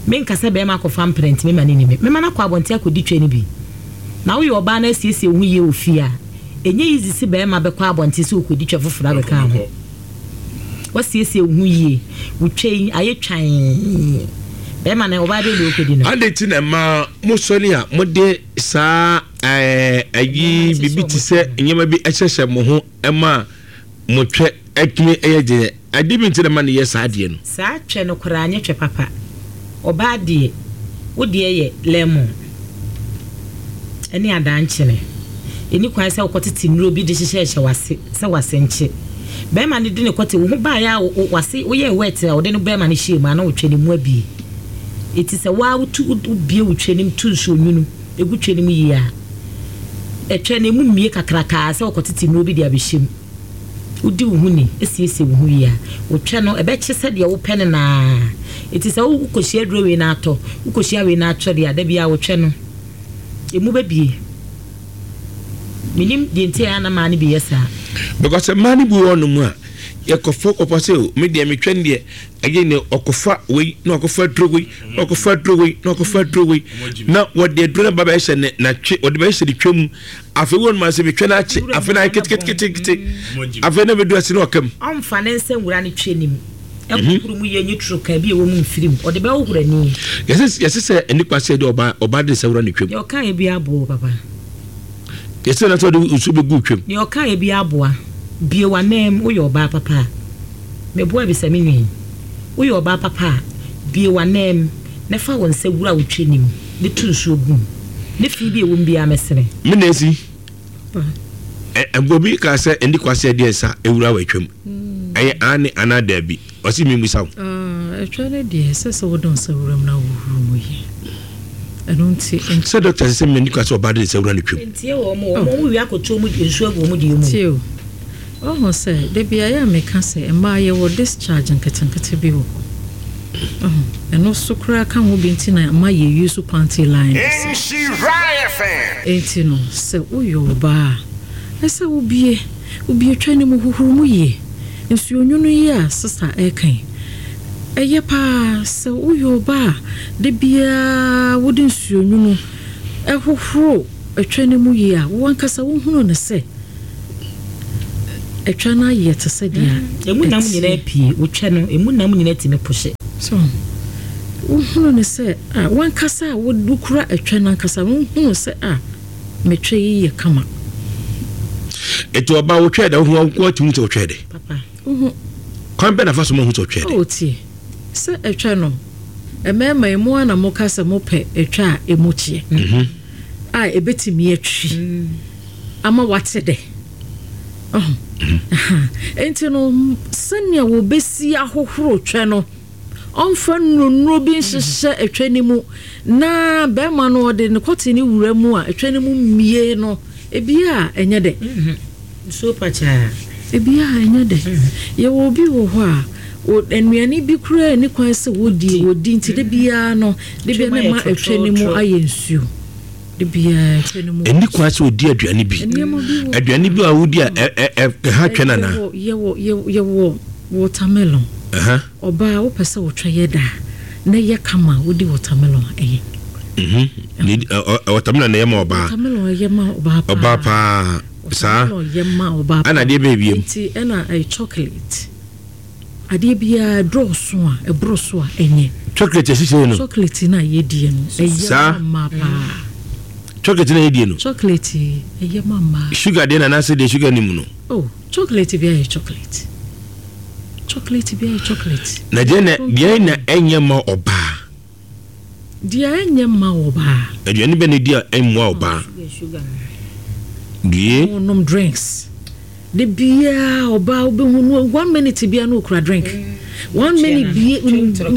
menka sɛ barima akɔfa mpena nti mema no nni me. Mɛma no akɔ abɔnten akɔdi twɛ no bi. Na woyɛ ɔbaa na asiesie wo ho yie wɔ fie a, ɛnyɛ easy se barima bɛkɔ abɔnten sɛ ɔrekɔdi twɛ foforɔ abɛka ho. Woasiesie wo ho yie. Wo twa yi ayɛ twann. Bɛrima no, ɔbaa bɛn na ɔrekɔdi no? Adɛn nti na mmaa mosɔre a mode saa ɛɛ ayi biribi te sɛ nneɛma bi hyehyɛ mo ho ma mo twɛ tumi yɛ den? Adeɛ bi nti na ɛma no yɛ saa adeɛ no. Saa twɛ no koraa nyɛ twɛ papa. Ɔbaa deɛ, wo deɛ yɛ lemon ne adankyene. Ɛnni kwan sɛ wokɔtete nnuro bi de hyehyɛhyɛ w'ase sɛ w'ase nkye. Bɛrima no de ne kɔte, wo ho baeɛ a w'ase woyɛɛ wet a ɔde no bɛrima no hyɛɛ mu a na wotwɛ no mu abie. Enti sɛ wo ara wotu wobue wo twɛ no mu to nsuo nwunu gu twɛ no mu yie a, ɛtwɛ no ɛmu mmue kakrakaa sɛ wokɔtete nnuro bi de abɛhyɛ mu. Wodi wo ho ni, siesie wo ho wie a, wo twɛ no, ɛbɛkye sɛdeɛ wopɛ no no ara. Enti sɛ wokɔhyia aduro wei na atɔ, wokɔhyia wei na atɔ deɛ a, da biara wo twɛ no, ɛmu bɛbue. Mennim deɛ nti a ɛyɛ a na mmaa no bi yɛ saa. Because mmaa no bi wɔ hɔnom a, yɛkɔfa kɔfa sɛ o, me deɛ metwɛ no deɛ, ɛyɛ ne ɔkɔfa wei na ɔkɔfa aduro wei na ɔkɔfa aduro wei na ɔkɔfa aduro wei na wɔde aduro no ba bɛhyɛ ne natwe wɔde bɛhyɛ ne twɛ mu. Afei wo ma sɛ metwa no akye afei na ayɛ keteketekete afei na bɛdu ase na ɔka mu. Ɔmfa ne nsa nwura ne twɛ no mu nhohoro mu yie nyi toro ka bi a ɛwɔ mu mfiri mu, ɔde bɛhohoro ani. Yɛse sɛ ɛni kwa sɛ ɛde ɔbaa ɔbaa de nsa wura ne twam. Deɛ ɔkaeɛ biara aboa o papa. Yɛse na sɛ ɔde nsuo bɛgu twam. Deɛ ɔkaeɛ biara aboa. Bue w'ananmu, woyɛ ɔbaa papa a. Meboa bisa me nua yi. Woyɛ ɔbaa papa a, bue w'ananmu na fa wo nsa wura wo twɛ no mu. Ne to nsuo gu mu. Ne fi bi a ɛwɔ mu biara mɛsene. Me na esi. Ɛ obi kaa sɛ ɛni kwa sɛ ɛdeɛ nsa ewura wɔ atwam. Ɛyɛ aane anaa daabi? Ɔsi mi mmusa wo. Atwa no deɛ ɛsɛ sɛ wode nsa wura mu na wohuru mu yie. Ɛno nti. Sɛ dɔkta sɛ sɛ ɛni kwa sɛ ɔbaa de nsa wura ne twam. Ntie wɔn o, wɔn wie akɔto wɔn nsuo agu wɔn deɛ mu. Tie o. Woahu sɛ, da bi a ɛyɛ a meka sɛ mmaa yɛwɔ discharge nketenkete bi wɔ hɔ. Woahu? Ɛno nso koraa ka ho bi nti na mma yɛ use panty liners. Enti no, sɛ woyɛ ɔbaa a, ɛsɛ sɛ wobue, wobue twa no mu, hohoro mu yie. Nsuonwunu yi a sista reka yi, ɛyɛ pa ara. Sɛ woyɛ ɔbaa a, da biara wode nsuonwunu hohoro twa no mu yie a, wo ankasa wohunu no sɛ, Ɛtwa no ayɛ te sɛ deɛ ɛteɛ. Emu nam nyinaa pue. Wotwa no, emu nam nyinaa tumi pohye. So wohunu no sɛ a w'ankasa a wokura ɛtwa no ankasa no wohunu sɛ a metwa yi yɛ kama. Eti ɔbaa wotwɛɛ dɛ wohu wo atumi sɛ wotwɛɛ dɛ. Papa. Wohu. Kwan bɛn na fa so ma hu sɛ wotwɛɛ dɛ? Oh tie, sɛ ɛtwa no mmarima yi mo ara na moka sɛ mopɛ ɛtwa a emu kyeɛ a ɛbɛtumi atwi. ama wate dɛ. Ɔho? Aha. Enti no, sɛnea wɔbɛsi ahohoro twɛ no, ɔmfa nnuro bi nhyehyɛ ɛtwɛ no mu, na bɛrima no ɔde ne kɔte no wura mu a, ɛtwɛ no mu mmie no, ebi a ɛnyɛ dɛ. Nsuo pakyaa. Ebi a ɛnyɛ dɛ. Yɛwɔ obi wɔ hɔ a, nnuane bi koraa nni kwan sɛ wɔdi, wɔdi nti da biara no, da biara na ɛma ɛtwɛ no mu ayɛ nsuo. Ɛnni kwan sɛ ɔdi aduane bi. Aduane bi a wodi a ɛha twɛn anaa? Yɛwɔ watermelon. Ɔbaa wopɛ sɛ wotwa yɛ da na ɛyɛ kama wodi watermelon a ɛyɛ. Mhm. Watermelon na ɛyɛ ma ɔbaa. Watermelon ɛyɛ ma ɔbaa paa. Ɔbaa paa. Saa. Watermelon yɛ ma ɔbaa paa. Ɛna adeɛ bɛyɛ biem. Nti ɛna chocolate. Adeɛ biara ɛdɔɔso a, ɛboro so a, ɛnyɛ. Chocolate asikyire no. Chocolate no a yɛdie no, ɛyɛ ma mmaa paa. Chocolate no a yɛdie no. Chocolate ɛyɛ ma mmaa. Sugar deɛ na anaasɛ deɛ sugar ni mu no. Oh, chocolate bi ayɛ chocolate. Chocolate bi ayɛ chocolate. Na deɛ na deɛ na ɛnyɛ ma ɔbaa. Deɛ ɛnyɛ mma ɔbaa. Aduane bɛn na ɛdi a ɛmmoa ɔbaa? Due. Ɔnom drinks. Da biara ɔbaa wobɛhu no one minute biara na ɔkura drink. One minute bi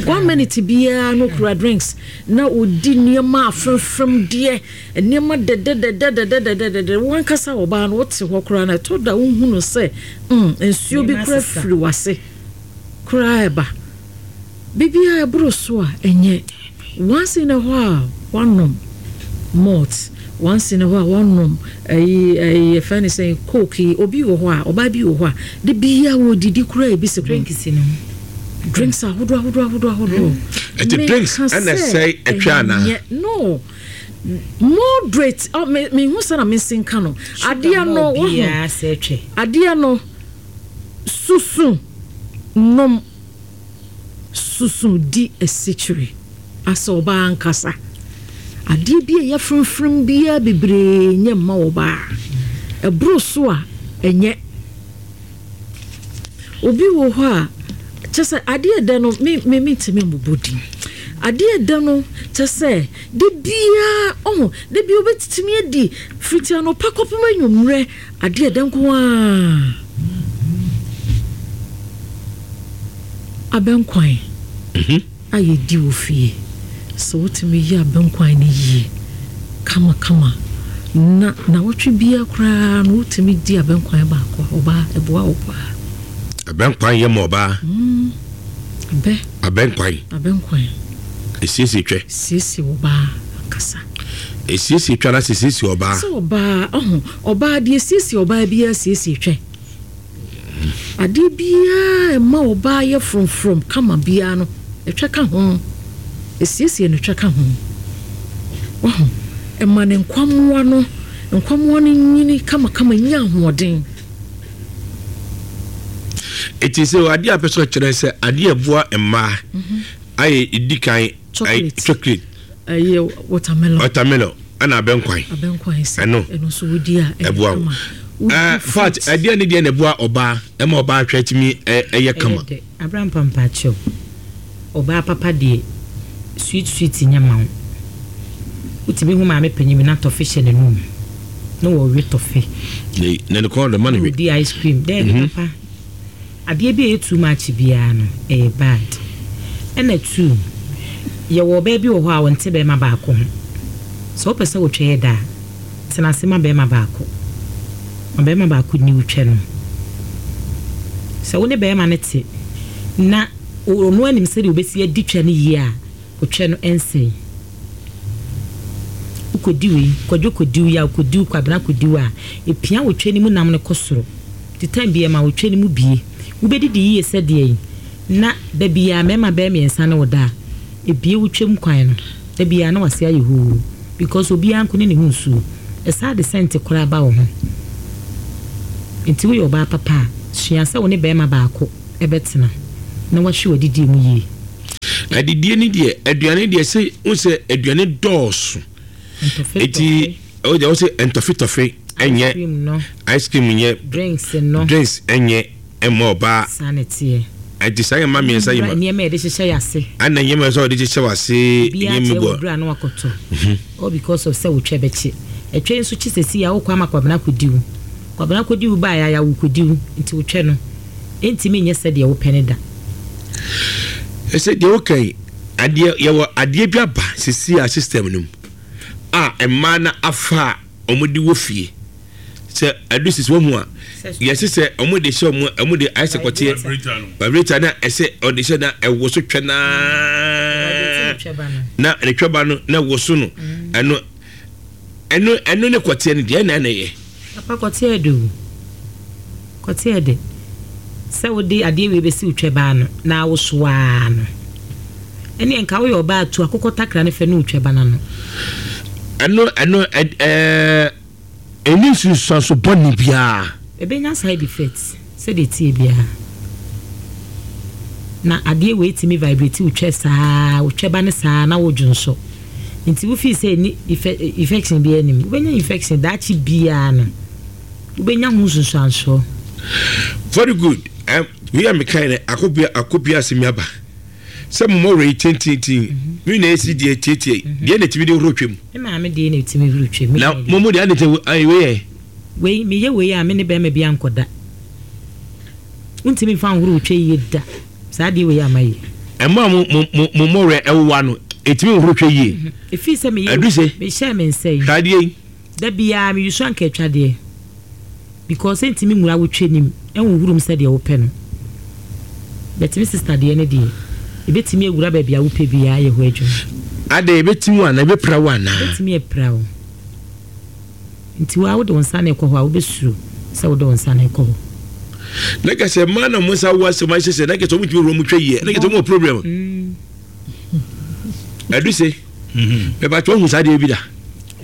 one minute biara na ɔkura drinks na ɔdi nneɛma afrɛmfrɛm deɛ nneɛma dɛdɛdɛdɛdɛdɛdɛdɛdɛ wankasa ɔbaa no wote hɔ koraa na ɛtɔ da wohu no sɛ mm nsuo bi koraa firi wase koraa ɛba. Biribiara a ɛboro so a, ɛnyɛ. Once in a while, woanom malt, once in a while, woanom ayi ayi yɛfrɛ no sɛn, coke yi. Obi wɔ hɔ a, ɔbaa bi wɔ hɔ a, da biara ɔredidi koraa ebi si ho. Drinks no. Drinks ahodoɔ ahodoɔ ahodoɔ ahodoɔ. Ɛti drinks ɛna ɛsɛe ɛtwa anaa? Ɛnyɛ, no. Moderate, oh, me mehu sɛ na mensi nka no. Adeɛ no, wohu, adeɛ no, susu nom. Susu di asikyire. Asɛ ɔbaa ankasa. Adeɛ bi a ɛyɛ fromfrom biara bebree nyɛ mma ɔbaa. Ɛboro so a, ɛnyɛ. Obi wɔ hɔ a, kyɛ sɛ adeɛ ɛdɛ no, me me mentumi mmobɔ din. Adeɛ ɛdɛ no, kyɛ sɛ da biara, ɔho, da biara obɛtumi adi fiti anɔpa kɔpem anwummerɛ, adeɛ ɛdɛ nko ara. Abɛnkwan. A yɛdi wɔ fie. Sɛ wotumi yɛ abɛnkwan no yie kamakama na nnawɔtwe biara koraa no wotumi di abɛnkwan baako a, ɔbaa, ɛboa wo paa. Abɛnkwan yɛ ma ɔbaa. Abɛ. Abɛnkwan. Abɛnkwan. Esiesie twɛ. Siesie ɔbaa ankasa. Esiesie twɛ anaasɛ esiesie ɔbaa. Sɛ ɔbaa, ɔho, ɔbaa deɛ esiesie ɔbaa biara siesie twɛ. Adeɛ biara a ɛma ɔbaa yɛ frɔmfrɔm kama biara no, ɛtwa ka ho. Ɛsiesie no twa ka ho. Wahu? Ɛma ne nkwammoa no, nkwammoa no nyini kamakama, nya ahoɔden. Eti sɛ adeɛ a pɛ sɛ ɔkyerɛ sɛ adeɛ a ɛboa mmaa ayɛ di kan Chocolate. Chocolate. Ɛyɛ watermelon. Watermelon ɛna abɛnkwan. Abɛnkwan sɛ. Ɛno. Ɛno nso wodi a ɛyɛ kama. Ɛboa wo. Fat ɛdeɛ ne deɛ na ɛboa ɔbaa ɛma ɔbaa hwɛ tumi ɛyɛ kama. Ɛyɛ dɛ. Abrampa mpakyɛw ɔbaa papa deɛ sweet sweet nyɛ ma wo. Wotumi hu maame panyin bi na tɔfe hyɛ n'anum na ɔwe tɔfe. Na ne kɔn dɔ ma no we. Na ɔdi ice cream. Daabi papa. Adeɛ bi a ɛyɛ too much biara no ɛyɛ bad. Ɛna too yɛwɔ ɔbaa bi wɔ hɔ a ɔnte bɛɛma baako ho. Sɛ wopɛ sɛ wotwɛ yɛ da a, tena ase ma bɛɛma baako. Ma bɛɛma baako nni wo twɛ no. Sɛ wo ne bɛɛma no te na ɔno anim sɛdeɛ ɔbɛsi adi twɛ no yie a, otwɛ no ɛnsɛe. Wokɔdi wei, Kwadwo kɔdi wo, Yaw kɔdi wo, Kwabena kɔdi wo a, ɛpia wo twɛ no mu nam no kɔ soro. Nti time biara ma wo twɛ no mu bie. Wobɛdidi yie sɛ deɛn na da biara mmarima bɛyɛ mmiɛnsa ne wo da a, ɛbie wo twam kwan no. Da biara na w'ase ayɛ hoo because obiara nko ne ne ho nsuo. Ɛsaa de sɛnte koraa ba wo ho. Nti woyɛ ɔbaa papa a, sua sɛ wo ne barima baako bɛtena na wahwɛ w'adidie mu yie. Adidie ne deɛ, aduane deɛ sɛ wohu sɛ aduane dɔɔso. Eti o deɛ wosɛ ntɔfetɔfe ɛnyɛ ice cream nyɛ drinks no drinks ɛnyɛ ɛmma ɔbaa. Saa na ɛteɛ. Ɛnti saa nneɛma mmiɛnsa yi ma. Nneɛma yɛde hyehyɛ yɛ ase. Ɛna nneɛma sɛ ɔde hyehyɛ w'ase. Obiara kyerɛ wɔ dura no akɔtɔ. All because of sɛ wotwɛ bɛkye. Ɛtwɛ nso kye sɛsi a wokɔ ama Kwabena akɔdi wo. Kwabena kɔdi wo baeɛ a yawo kɔdi wo nti wotwɛ no ɛntumi nyɛ sɛdeɛ wopɛ no da. Ɛsɛ deɛ woka yi adeɛ yɛwɔ adeɛ bi aba sisi a system no mu a mmaa no afa a wɔde wɔ fie sɛ ɛdo sisi wɔn ho a yɛsɛ sɛ wɔde hyɛ wɔn wɔn de ayɛ sɛ kɔteɛ vibrator na ɛsɛ ɔde hyɛ na ɛwɔ so twɛ naa na ne twɛba no na ɛwɔ so no ɛno ɛno ɛno ne kɔteɛ no deɛ ɛna na ɛyɛ. Papa kɔteɛ ɛdɛ o. Kɔteɛ ɛdɛ. Sɛ wode adeɛ wei bɛsi wo twɛba ano na awoso ara no, ɛneɛ nka woyɛ ɔbaa tu akokɔ takra no fɛ ne wo twɛba no ano. Ɛno ɛno ɛɛ ɛnni nsunsuanso bɔne biara. Ɛbɛnya side effect sɛdeɛ ɛteɛ biara. Na adeɛ wei tumi vibrate wo twɛ saa, wo twɛba no saa na wodwonsɔ. Nti wo feel sɛ ɛnni infection biara nnim. Wobɛnya infection daakye biara no. Wobɛnya ho nsunsuansoɔ. Very good um, wei a mekae no akopia akopia asɛm aba sɛ mo mɔwerɛ yi tentintin me na ɛsi deɛ tietie deɛ na ɛtumi de horo twam. Me maame deɛ na ɛtumi horo twam. Na mo mo deɛ ade wei yɛ. Wei meyɛ wei a me ne bɛrima bi ankɔda. Wontumi mfa nhoro twa yie da saa adeɛ wei a mayɛ. Ɛmo a mo mo mo mo mɔwerɛ ɛwowa no ɛtumi nhoro twa yie. Ɛfiri sɛ meyɛ mehyɛ me nsa yi. Hwɛ adeɛ yi. Da biara me use anka atwadeɛ because ɛntumi nwura wo twɛ nim ɛnhohoro mu sɛdeɛ wopɛ no but me sister deɛ no deɛ ɛbɛtumi awura baabi a wopɛ biara ayɛ hɔ adwuma. Adɛn ɛbɛtim wo anaa ɛbɛpira wo anaa? Ɛbɛtumi apira wo nti wo ara wode wo nsa na ɛkɔ hɔ a wobɛsuro sɛ wode wo nsa no rekɔ hɔ. Na kɛ sɛ mmaa na wɔn nsa awo asɛm ahyɛ sɛ na kɛ sɛ wɔn ntumi wura wɔn twɛ yie na kɛ sɛ wɔn wɔ problem. Ɛdu se bɛba tí wɔn hu saa deɛ bi da.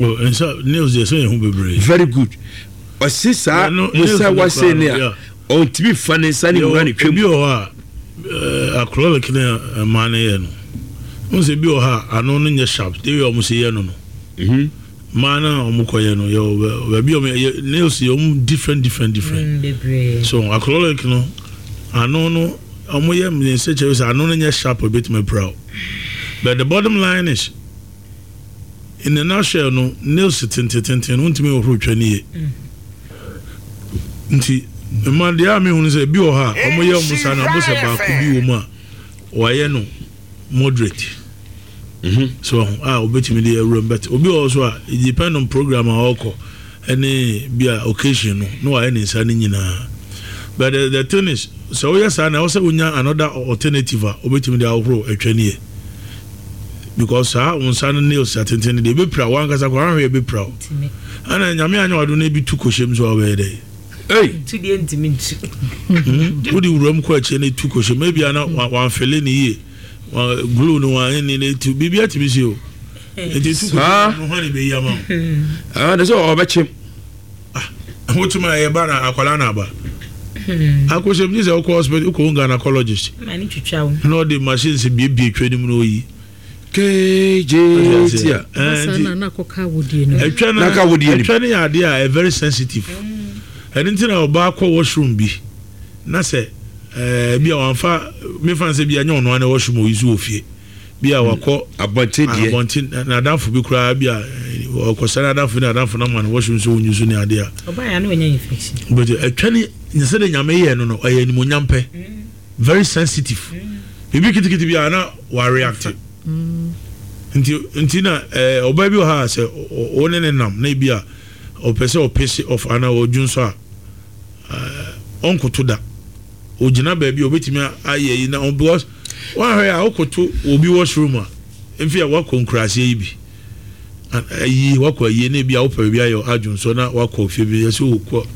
Nsa nails deɛ sɛ yɛn ho bebree. Very good ɔsi saa musa wase ne a ɔntumi fa ne nsa ne wura ne twam. Ebi wɔ hɔ a acrylic ne mmaa no yɛ no. Wohu sɛ bi wɔ hɔ a ano no nyɛ sharp the way a wɔn si yɛ no no. Mmaa no a wɔn kɔ yɛ no yɛ wɔ baabi a wɔn yɛ nails yɛ wɔn different different different. Mm, so acrylic no ano no wɔn yɛ ne nsa kyerɛ sɛ ano no nyɛ sharp ebetumi apira o. But the bottom line is in a nutshell no nails tentententen no wontumi nhohoro twa ne yie. Nti mma deɛ a mehunu sɛ ebi wɔ hɔ a wɔn yɛ wɔn saa na wɔn sɛ baako bi wɔ mu a. Wayɛ no moderate so wahu a obetumi de awura mu but obi wɔ hɔ so a it depend on program a ɔkɔ ɛne bi a occasion no na wayɛ ne nsa no nyinaa but the, the thing is sɛ woyɛ saa na ɛwɔ sɛ wonya another alternative a obetumi de ahohoro atwa ne yɛ because saa wo nsa no nails atenten no deɛ ebepira wo ankasa koraa ahwɛ ebepira wo ɛna nyame anyɛ wado na ebi tu kɔhyɛ mu so a wobɛyɛ dɛ. Ei! Tu deɛ ntumi ntu. Hmm? Wode wuram kɔ akyire na etu kɔhyɛ mu. Ebia na wamfele ne yie. Glue no wanyɛ ne na etu. Biribi atumi si o. Nti etu kɔhyɛ mu no hwan na ebeyi ama wo? Ah, de sɛ ɔbɛkyem. Ah, wokyem a ɛyɛ ba na akwadaa na aba. Akɔhyɛ mu gye sɛ wokɔ hospital wokɔ gynecologist. Ma ne twitwa wo. Na ɔde machines biebie twɛ no mu na oyi. Kejetia. Ɛtwa no ɛtwa no yɛ adeɛ a very sensitive. Ɛno nti na ɔbaa kɔ washroom bi na sɛ ɛɛ bi a wɔnfa mefa nsɛ bi a nyɛ ɔno ara na washroom oyi so wɔ fie bi a wakɔ abɔnten deɛ abɔnten n'adamfo bi koraa bi a ɔkɔsɛ n'adamfo ne n'adamfo na ma no washroom so onyi so ne adeɛ a. Ɔbaa yɛ ano ɔnya infection. But ɛtwa ne sɛ de nyame yɛ no no ɛyɛ animonyam pɛ. Very sensitive biribi kitikiti bi a na wa react nti nti na ɛɛ ɔbaa bi wɔ ha sɛ wo ne ne nam na ebi a ɔpɛ sɛ ɔpese off anaa ɔdwo nso a ɛɛ ɔnkoto da ogyina baabi a obetumi ayɛ yi na because wahwɛ a ɔkoto obi washroom a mfi a wakɔ nkuraseɛ yi bi. Ayi wakɔ ayie na ebi a wopɛ baabi ayɛ adwonsɔ na wakɔ fie bi yɛsɛ wokɔ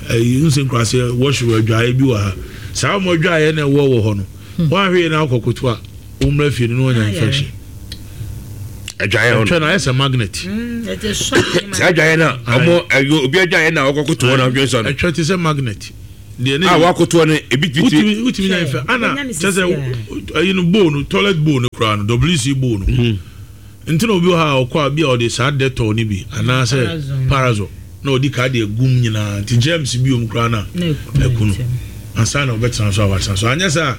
ayi nsɛ nkurase wɔhyew adwaeɛ bi wɔ ha saa wɔn adwaeɛ na ɛwɔ wɔ hɔ no hmm. wɔn ahwɛ na akɔ koto a wɔn mmra fie no na wɔnya infection adwaeɛ hɔ no ɛtwa na ayɛ sɛ magnet hmm, saa adwaeɛ na wɔn ɛyɛ obi adwaeɛ na ɔkɔ koto hɔ na adwonsɔ no ɛtwa te sɛ magnet deɛ ne a wakoto no ebi titi wotumi nya infection ana kyɛ sɛ ɛyi no bowl no toilet bowl no koraa no wc bowl no hmm. Nti na obi wɔ hɔ a ɔkɔ a bi a ɔde saa Dettol no bi anaasɛ Parazone na ɔdi ka de agu mu nyinaa nti germs bi wɔ mu koraa no a aku no ansa na ɔbɛtena so a watena so. Anyɛ saa a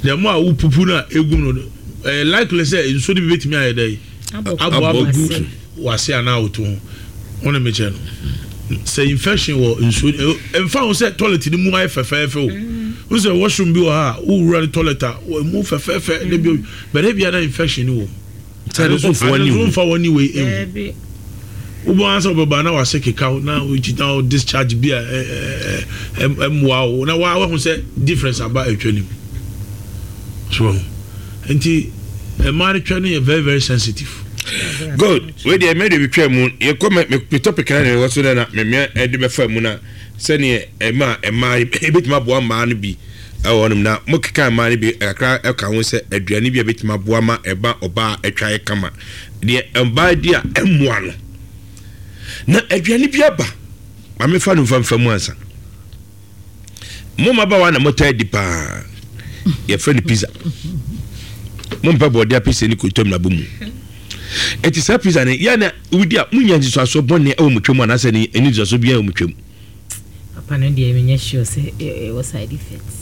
the more a wopupu no a egu mu no ɛyɛ likely sɛ nsuo no bi bɛtumi ayɛ dɛ abɔ abɛgu w'ase anaa wo to ho. Wo ne mekyɛ no sɛ infection wɔ nsuo ɛmfa ho sɛ toilet no mu ayɛ fɛfɛɛfɛ o. Wo sɛ washroom bi wɔ hɔ a wowura ne toilet a ɛmu fɛfɛɛfɛ na bi bɛrɛ bi a na infection no wɔ mu. Sɛ no nso ade nso nfa wɔn wei ehu. Wobɔ ansa wɔbɛba na wase keka wo na wokyi na wo discharge bi a ɛmmoa wo na wa wahu sɛ difference aba atwa nim. So wahu. Nti mmaa no twa no yɛ very very sensitive. Good. Wei deɛ mɛ de bi twa mu yɛkɔ mɛ me topic na ɛwɔ so na mɛ mɛ ɛde bɛfa mu na sɛdeɛ ɛma mmaa ebetumi aboa mmaa no bi. Ɛwɔ hɔnom na mokeka mmaa no bi kakra ka ho sɛ aduane bi a ɛbɛtumi aboa ma ɛba ɔbaa atwa yɛ kama. Deɛ ɔbaa di a ɛmmoa no. Na aduane bi aba, ma mefa no mfa mfa mu ansa. Mo mmabaawa na motaa di paa. Yɛfrɛ no pizza. Mompɛ bɔɔde apɛsɛ ne kotom na bɔ mu. Eti saa pizza no, yɛ na wodi a munya nsusuasoɔ bɔne wɔ mo twam anaasɛ ne nsusuasoɔ biara wɔ mo twam. Papa no deɛ menyɛ sure sɛ ɛwɔ side effects.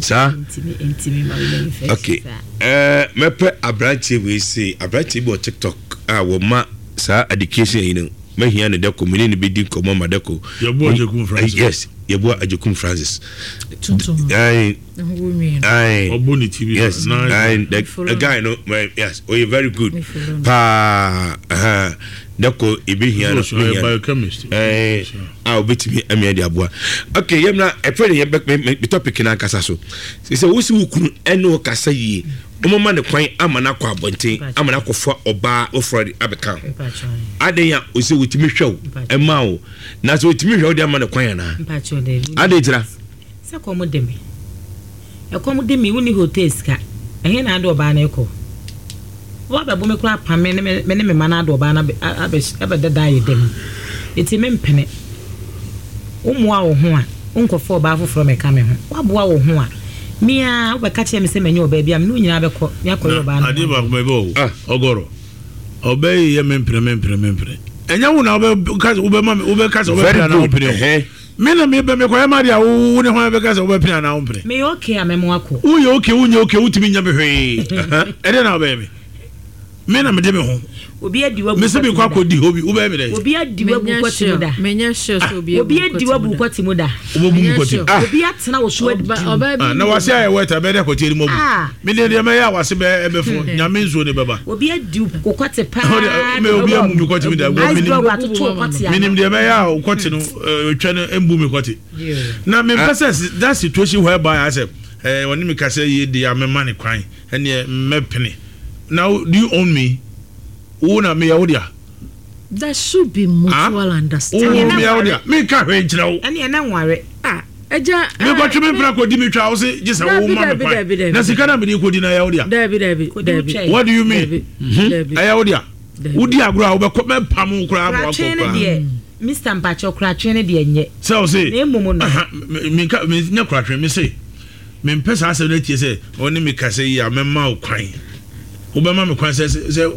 Saa. Ntumi ntumi ma menya infection Okay. saa. Eh, mɛpɛ aberanteɛ wei sei, aberanteɛ bi wɔ TikTok a wɔma saa education yi no, mɛhia no dɛko, me ne no bɛdi nkɔmmɔ ma dɛko. Yɛboa Agyekum Francis. Yes, yɛboa Agyekum Francis. Tuntum. Aye. Ne ho wɔ nwi no. Aye. Ɔbɔ ne ti bi. Yes, aye, the guy no, yes, oh, very good. Paa, uh-huh. Dɛko ebehia no, mehia no. Eh, a obetumi amia de aboa. Okay, yɛm na ɛfɛ ne yɛ me topic na ankasa so. Sɛ wosi wo kunu ɛne wo kasa yie, wɔma ne kwan ama no akɔ abɔnten, ama no akɔfa ɔbaa foforɔ de abɛka ho. Adan a ɔsɛ wotumi hwɛ wo, ɛma wo. Na sɛ wotumi hwɛ wo de ama no kwan anaa? Adan tira. Sɛ kɔm de me. Ɛkɔm de me, wonni hotel sika, ɛhe na ade ɔbaa no rekɔ? Woabɛbo me koraa apam me ne me ne me mma no ade ɔbaa no abɛda dan yɛ da mu. Enti mempene. Wommoa wo ho a, wonkɔfa ɔbaa foforɔ mmɛka me ho. Woaboa wo ho a, Me ara wobɛka kyerɛ me sɛ manya ɔbaa bi a, me ne wo nyinaa bɛkɔ ne akɔyɛ ɔbaa no ho adeɛ. Adeɛ baako mɛbɛ o, ɔgɔrɔ. Ɔbaa yi yɛ mempene mempene mempene. Ɛnyɛ wo na wobɛka sɛ wobɛma me wobɛka sɛ wobɛpene anaa wompene o. Me na mebɛ mekɔyɛ m'adeɛ a wo ne hwan bɛka sɛ wobɛpene anaa wompene. Meyɛ okay a mɛma wakɔ. Woyɛ okay wonyɛ okay wotumi nyɛ me hwee. Ɛdeɛ na wobɛyɛ me. Me na mede me ho. Obi adi wabu Mese mekɔ akɔdi hɔ bi wobɛyɛ me dɛn? Obi adi wabu kɔte mu da. Menyɛ sure sɛ obi Obi adi wabu kɔte mu da. Wobɛbu mu kɔte mu. Obi atena wo so adi. Ah, na wase ayɛ wet a bɛyɛ dɛ kɔte anim abu. Me deɛ deɛ mɛyɛ a wase bɛ ɛbɛfo nyame nsuo ne bɛba. Obi adi wo kɔte paa. Me obi amu me kɔte mi da. Ice block atoto wo kɔte ano. Menim deɛ mɛyɛ a wo kɔte no twɛ no mbu me kɔte. Na mempɛ sɛ that situation whereby asɛ ɔne me kasa yie deɛ a mɛma ne kwan. Ɛneɛ mɛpene. Now do you own me? Wo na meyɛ wo dea. There should be mutual understanding. Wo meyɛ wo dea. Menka hwee nkyerɛ wo. Ɛneɛ na nware. Ah, agya. Mekɔtwe me mpena kɔdi me twa wo se gye sɛ wo ma me kwan. Na sika na mede kɔdi no ɛyɛ wo dea. Dabi dabi dabi. What do you mean? Ɛyɛ wo dea. Wodi agorɔ a wobɛkɔ mɛpam wo koraa ma wakɔ koraa. Mister mpakyɛw koratwe no deɛ nyɛ. Sɛ wo se. Na mmom no. Menka menyɛ koratwe me se. Mempɛ saa asɛm no atie sɛ ɔne me kasa yi a mɛma wo kwan. Wobɛma me kwan sɛ sɛ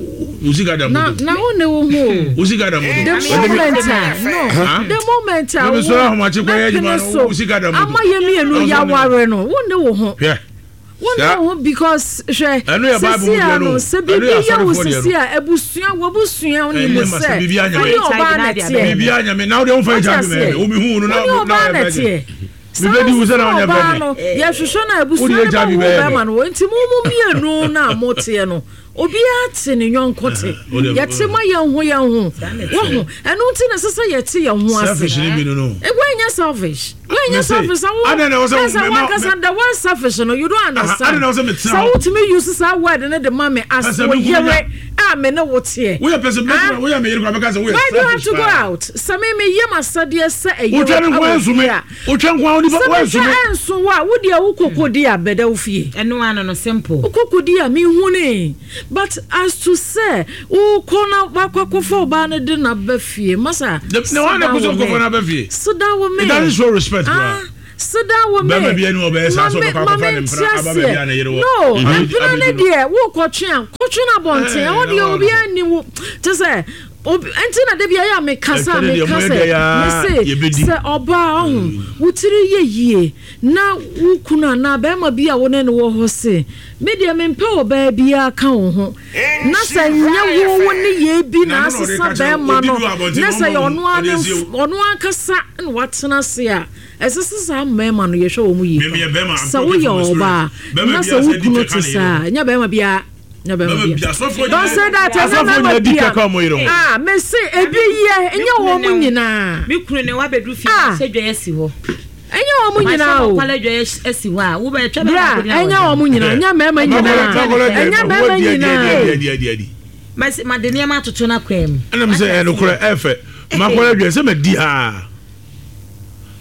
wo sika da moto. Na wo ne wo ho o. Wo sika da moto. The moment a no the moment a wo mesɔrɔ ahomakye kɔyɛ adwuma no wo sika da moto. Ama yɛ mmienu yaware no wo ne wo ho. Hwɛ. Wo ne wo ho because hwɛ sisi a no sɛ biribi yɛ wo sisi a abusua wabusua nim sɛ wo ne ɔbaa na ɛteɛ. Biribi anyame na wo deɛ wo fa HIV mɛ wo mi hu no na wo ne ɔbaa na ɛteɛ. Saa Mebɛdi wo nso sɛ na na wonyɛ ɔbaa fɛ no, me. yɛhwehwɛ no a abusua Wode no HIV bɛwo bɛyɛ bɛrima dɛn? no nti mo mo mmienu no a moteɛ no obiara te ne yɔnko te Wode- yɛte ma yɛn ho yɛn ho wohu ɛno nti na ɛsɛ sɛ yɛte yɛn ho ase Selfish ne bi no no. Eh, woanyɛ selfish woanyɛ Mese, selfish sɛ wo adɛn na ɛwɔ sɛ na sɛ mema- wankasa the word selfish no you don't understand adɛn na ɛwɔ sɛ metena sɛ hɔ? wotumi use saa word no de ma me as Ɛsɛ wo me kunu yere nya- a me ne wo teɛ Woyɛ pɛ sɛ Ah? woyɛ me yere koraa bɛka sɛ woyɛ Why do you have selfish to go paa. out? Sɛ me me yɛ m'asɛdeɛ sɛ ɛyere Wotwa ne nko wɔ anso me. fie a. Wotwa nko a onipa Sɛ wanso metwa me. anso wo a, wo deɛ wo koko di a bɛda wo fie. Ɛno ano no simple. Wo koko di a menhunee. But as to sɛ wokɔ na wakɔ akɔfa ɔbaa no de no aba fie, masa Na wɔn na sit down ɛkɔ sɛ with ɔkɔfa me. no aba fie. Sit down with me. It doesn't show respect Ah, koraa. sit down with me. Bɛrima bi ani ɔbɛyɛ saa sɛ Ma me- ɔbɛkɔ ma akɔfa me ne nte mpena aba baabi a ne yere wɔ. No, Abi- mpena ne abɛdu no. deɛ wokɔtwe a kɔtwe no abɔnten. Eh, Ɛhɔ na deɛ wɔn obiara nni wo te sɛ obi nti na dabi ayɛ a mekasa a Ɛtwa ne deɛ meka moyɛ sɛ dɛ yaa, mese yɛbɛdi. sɛ ɔbaa ɔho wo tiri yɛ yie na wo kunu anaa bɛrima bi a wo ne no wɔ hɔ se me deɛ mempɛ ɔbaa biara ka wo ho na sɛ nyɛ wo wo ne yɛ bi na Na ɛno na ɔde asesa ka kyerɛ wo, bɛrima obi no du abɔnten na na sɛ ɔma yɛ wo ɔno ara ɔde ne asie wo. ɔno ankasa na watena ase a ɛsɛ sɛ saa mmarima no yɛhwɛ wɔn yie Me- meyɛ bɛrima, pa I'm sɛ talking woyɛ from experience. ɔbaa Bɛrima na biara sɛ sɛ wo di kunu twɛ ka te ne yere saa ho. nyɛ bɛrima biara nyɛ bɛrima Bɛrima biara bi- asɔfoɔ don't nyinaa- say that ɛnyɛ asɔfoɔ bɛrima nyinaa di biara twɛ ka wɔn yere ho. ah mese ebi yɛ ɛnyɛ wɔn mu nyinaa Me kunu ne wabɛduru fie Ah. sɛ dwa asi hɔ. ɛnyɛ wɔn mu nyinaa o Mahyɛ dwa asi hɔ a wobɛtwa bra ɛnyɛ wɔn mu nyinaa ɛnyɛ mmarima nyinaa ɛnyɛ mmarima nyinaa Made nneɛma atoto no akwan mu. ɛna mi sɛ ɛnokorɛ ɛfɛ makɔlɛ dwɛ sɛ madi haa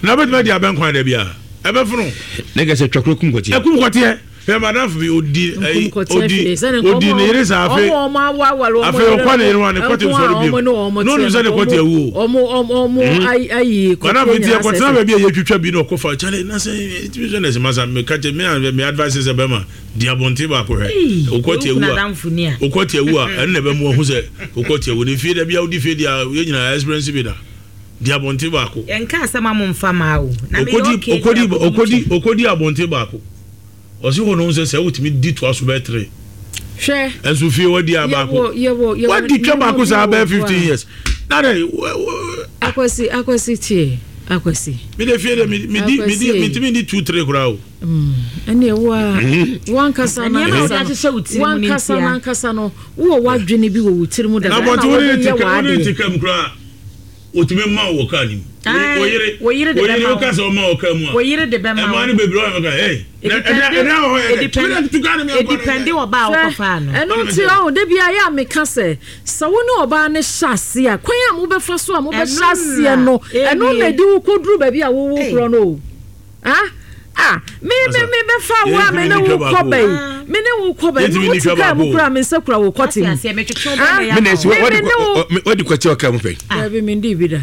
na wobɛtumi adi abɛnkwan da bia ɛbɛfono ne kɛ sɛ twakoro kum kɔteɛ ɛkum kɔteɛ hwɛ madamfo bi odi ɛyi Nkum kɔteɛ odi fie sɛne nka odi ne yere saa afei ɔmo ɔmo awaware ɔmo afei ɔkɔ ne yere ho a ne kɔte nko a nsɔre ɔmo bio ne ɔmo na onim sɛ ne kɔte awu o ɔmo ɔmo ɔmo ayi ayi kɔteɛ madamfo nti nyinaa ɛkɔtena sɛsɛ baabi a yɛtwitwa bi na ɔkɔfa kyale na sɛ ɛtumi sɛ na ɛsɛ masa meka kyɛ me a me advice sɛ bɛma di abɔnten baako hwɛ Ei, wokɔte wo awu kunu a adamfo ni a. wokɔte awu a ɛno na ɛbɛma wahu sɛ wokɔte awu ne fie da bia wodi fie deɛ yɛ nyinaa experience bi da di abɔnten baako Yɛnka asɛm a momfa maa o. Na meyɛ okodi okay okodi deɛ a, okodi okodi abɔnten baako ɔsi hɔ no sɛ sɛ wotumi di toa so bɛyɛ tere hwɛ ɛnso fie wadi a baako yɛwɔ yɛwɔ yɛwɔ wadi twa nneɛma baako bi saa wɔ bɛyɛ hɔ 15 a years na dɛ wɔ- akwasi akwasi tie akwasi mi de fie de mi mi di mi di Akwasi. mi ntumi di 2 3 koraa o ɛne ɛwo a wankasa Nneɛma a wode nankasa ahyehyɛ wo tiri mu no wankasa ntia. nankasa no wowɔ w'adwene bi wɔ wo tiri mu dada na ɛna abɔnten wo ne wode ne ti yɛ ka wo ne ne ti w'adeɛ ka mu koraa otumi ma wɔ kaa nim Ae, wo yere wo yere de wo yere bɛma wo ka sɛ ɔma wɔ kaa mu a Wo yere de bɛma ɛmaa wo. no bebree ɔyɛ mɛka hey na ɛda ɛda wɔ hɔ yɛ dɛ tumi na tu kaa no mi akɔ Edipɛnde wɔ ba a Hwɛ, wokɔfaa no. ɛno nti ɔho da bia yɛ a meka sɛ sɛ wo ne ɔbaa no hyɛ ase a kwan a mobɛfa so a mobɛhyɛ Ɛno aseɛ na no ɛno na ɛwie. ɛde wo kɔduru baabi a wowo Ei. korɔ no o ah ah. Ah, me me me bɛfa wo a me ne wo kɔ bɛyi me ne wo kɔ bɛyi me wo ti kaa mu kura me nsa kura wo kɔte mu. Ah, me na esi wadi kɔte ɔka mu pɛ. Dabi me ndi bi da.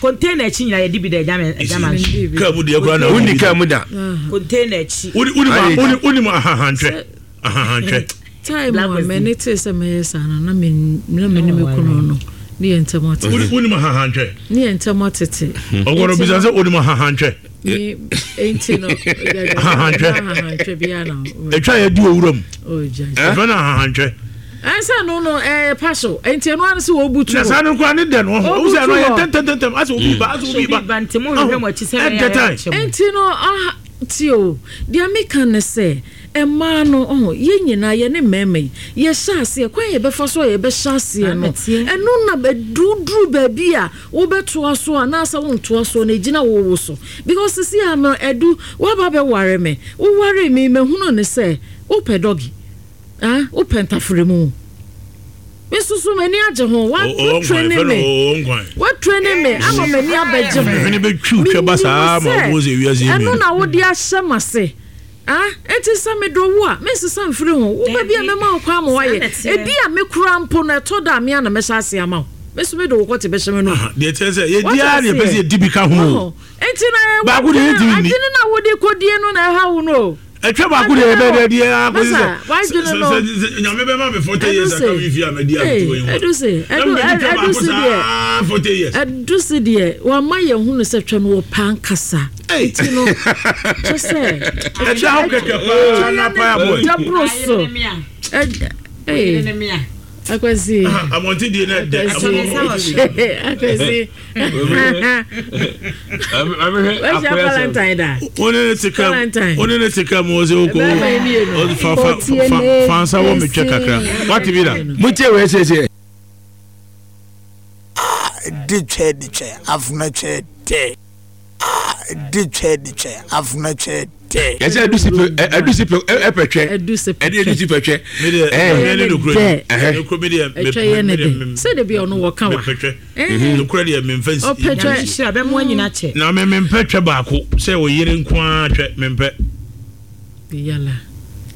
Container akyi nyina yɛde bi da ɛgya me ɛgya ma nso. Kaa mu deɛ kura na. Wonni kaa mu da. Container akyi. Wodi wodi ma wodi wodi ma ahahantwɛ ahahantwɛ. Time a m'ani tee sɛ mɛyɛ saa no na me na me ne me kunu no ne yɛn ntam atete. Wodi wodi ma ahahantwɛ. Ne yɛn ntam atete. Ɔgɔrɔ bisa sɛ wodi ma ahahantwɛ. Me enti no ahahantwɛ. Ahahantwɛ biara na. Etwa yɛ di owura mu. Ɛfɛ na ahahantwɛ. Ɛnsɛ no no ɛyɛ pa so nti ɛno ano sɛ wɔbu tu hɔ. Na saa no koraa ne dɛ no ɔho. Ɔhu sɛ ɛno yɛ ntɛntɛntɛm asɛ obi ba asɛ obi ba. Ɛdɛ time. Nti no aha ti o deɛ meka ne sɛ mmaa no ɔho yɛn nyinaa yɛne mmarima yi yɛhyɛ aseɛ kwan yɛbɛfa so a yɛbɛhyɛ aseɛ no ɛno na ɛduru baabi a wobɛtoa so anaasɛ wontoa so no ɛgyina wo wo so because sisi a no ɛdu woaba bɛware me woware me mahunu ne sɛ wopɛ dɔgi. Ah, wopɛ ntafere mu. Me nso so m'ani agye ho. Woatrene me. Woatrene me ama m'ani abɛgye ho. Menim sɛ ɛno na wode ahyɛ m'ase. Ah, enti sɛ medɔ wo a, mensesa mfiri ho. Wo ba bi a mɛma wo kwan ma woayɛ. Ebi a me koraa mpo no, ɛtɔ da a me ara na mɛhyɛ ase ama wo. Me nso mede wo kɔte bɛhyɛ m'anom. Deɛ ɛkyerɛ sɛ yɛdi ara na yɛpɛ sɛ yɛdi bi ka ho. Enti na adwene no a wode kɔdie no na ɛha wo no o. Ɛtwa baako deɛ yɛbɛyɛ dɛ deɛ akɔsi sɛ sɛ nyame bɛma me 40 years aka me fie a madi akoto yi ho ɛdu se ɛdu se deɛ 40 years ɛdu se deɛ wama yɛn hunu sɛ twɛ no wɔ paa nkasa nti no kyɛ sɛ ɛda ho kɛkɛ paa na paa bɔ daboro so ɛɛ akwasi abɔnten deɛ na ɛdɛ akwasi Wahyia Valentine da. Wone ne te kam. Wone ne te kam wɔ sɛ wokɔ. Fa fa fa fa nsa wɔ me twɛ kakra. Wate bi da. Mo tie wei siesie. Ah di twɛ di twɛ afuna twɛ tɛ. Ah di twɛ di twɛ afuna twɛ tɛ. Yɛsɛ adusi pɛ adusi pɛ ɛpɛ twɛ. Ɛde adusi pɛ twɛ. Ɛyɛ ne dɛ. Ɛtwɛ yɛ ne dɛ. Sɛ de bi ɔno wɔ ka wa. Nokorɛ deɛ memfa nsi. Ɔpɛ twɛ. Nhyira bɛmo anyina kyɛ. Na me mempɛ twɛ baako sɛ oyere nko ara twɛ mempɛ. Yala.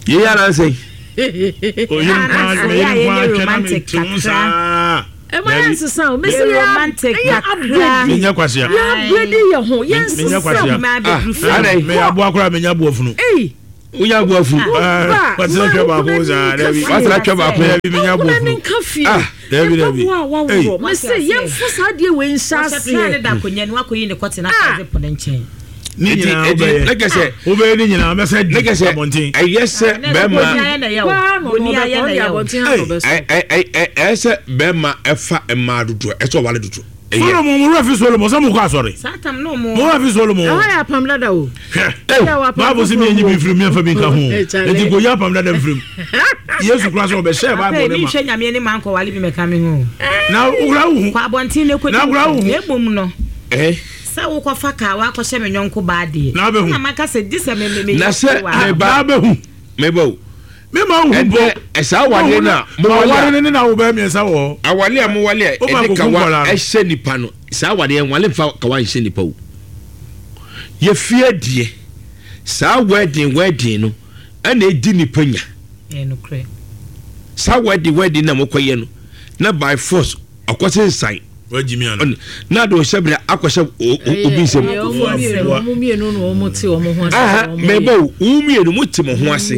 Yei ara nsɛn. Oyere nko ara me yere nko ara twɛ na me te ho saa. Ɛma yɛn nsesa o mesi yɛ yɛ upgrade. Menyɛ kwasea. Yɛ upgrade yɛ ho yɛn nsesa. Menyɛ kwasea. Ah, meyɛ aboa koraa menya aboa funu. Ei. Wonya aboa funu. Wasra twɛ baako saa dabi. Wasra twɛ baako. Dabi menya aboa funu. Nka fie. Ah, dabi dabi. Mpaboa a waworɔ. Mese yɛmfa saa adeɛ wei nhyɛ aseɛ. Wɔhyɛ tra ne da akonnwa no wakɔyi ne kɔte na afɔ de po ne nkyɛn. Ne nyinaa wobɛyɛ. Wobɛyɛ ne nyinaa mɛsɛ di abɔnten. Ɛyɛ sɛ bɛrima. Ɛyɛ sɛ bɛrima ɛfa mmaa dodoɔ ɛsɛ ɔwale dodoɔ. Solomon mo werɛ fi Solomon sɛ mokɔ asɔre. Mo werɛ fi Solomon. Ɛhɔ yɛ apam dada o. Hwɛ Bible sɛ mienyi bi mfirim miɛmfa bi nka ho. Enti kɔyi apam dada mfirim. Yesu kora sɛ ɔbɛhyɛɛ Bible ne ma. Afei menhwɛ Nyame anim ankɔwale bi mɛka me ho. Na wokora wo ho. Kɔ abɔnten na kɔdi Na wokora wo ho. Na mmom no. Sɛ wokɔfa kaa wakɔhyɛ me yɔnko baa deɛ. Na abɛhu. Na maka sɛ gye sɛ me me me Na sɛ meba. Na abɛhu. Meba o. Me ma wo hu mpo. Ɛnɛ ɛsaa awadeɛ no a mowale a. Aware no ne na wo bɛyɛ mmiɛnsa wɔ hɔ. Awale a mowale a ɛde kawa ɛhyɛ nipa no saa awadeɛ nwale nfa kawa nhyɛ nipa o. Yɛfie deɛ saa wedding wedding no ɛna ɛdi nipa nya. Saa wedding wedding na mokɔyɛ no na by force Ɔkɔsensan. Wagye mi ana? Na de ɔhyɛ bere akɔhyɛ obi nsam. Wɔn mmienu na wɔn te wɔn ho ase. Aha, mɛbɔ o, wɔn mmienu mo te mo ho ase.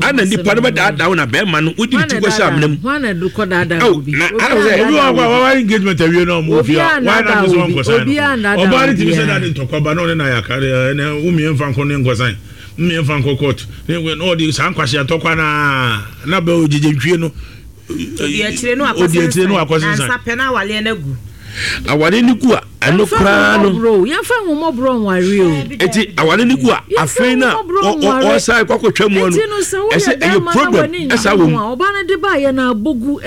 Ana nipa no bɛdaadaa wo na bɛrima no wodi ne ti kɔhyɛ amena mu. Hwan na kɔ daadaa obi? Na ana sɛ obi wɔ hɔ a wawa engagement awie na ɔmo fi a wɔn na sɛ wɔn kɔsan no. Ɔbaa ne tumi sɛ na de ntɔkwa ba na ɔne na yɛ aka ɛnɛ wo mmiɛnfa nkɔ ne nkɔsan mmiɛnfa nkɔ court na ɔde saa nkwahyɛ ntɔkwa na na bɛ ogyegye ntwie no. Odi akyire no akɔsensan. Nansa pɛ na awareɛ no agu. Awareɛ no gu a ɛno koraa no. Yɛmfa ahummɔborɔ nware o. Eti awareɛ no gu a afei na ɔsan kɔ akɔtwa mu no ɛsɛ ɛyɛ problem ɛsa wɔ mu. Ɔbaa no de ba yɛ na abogu.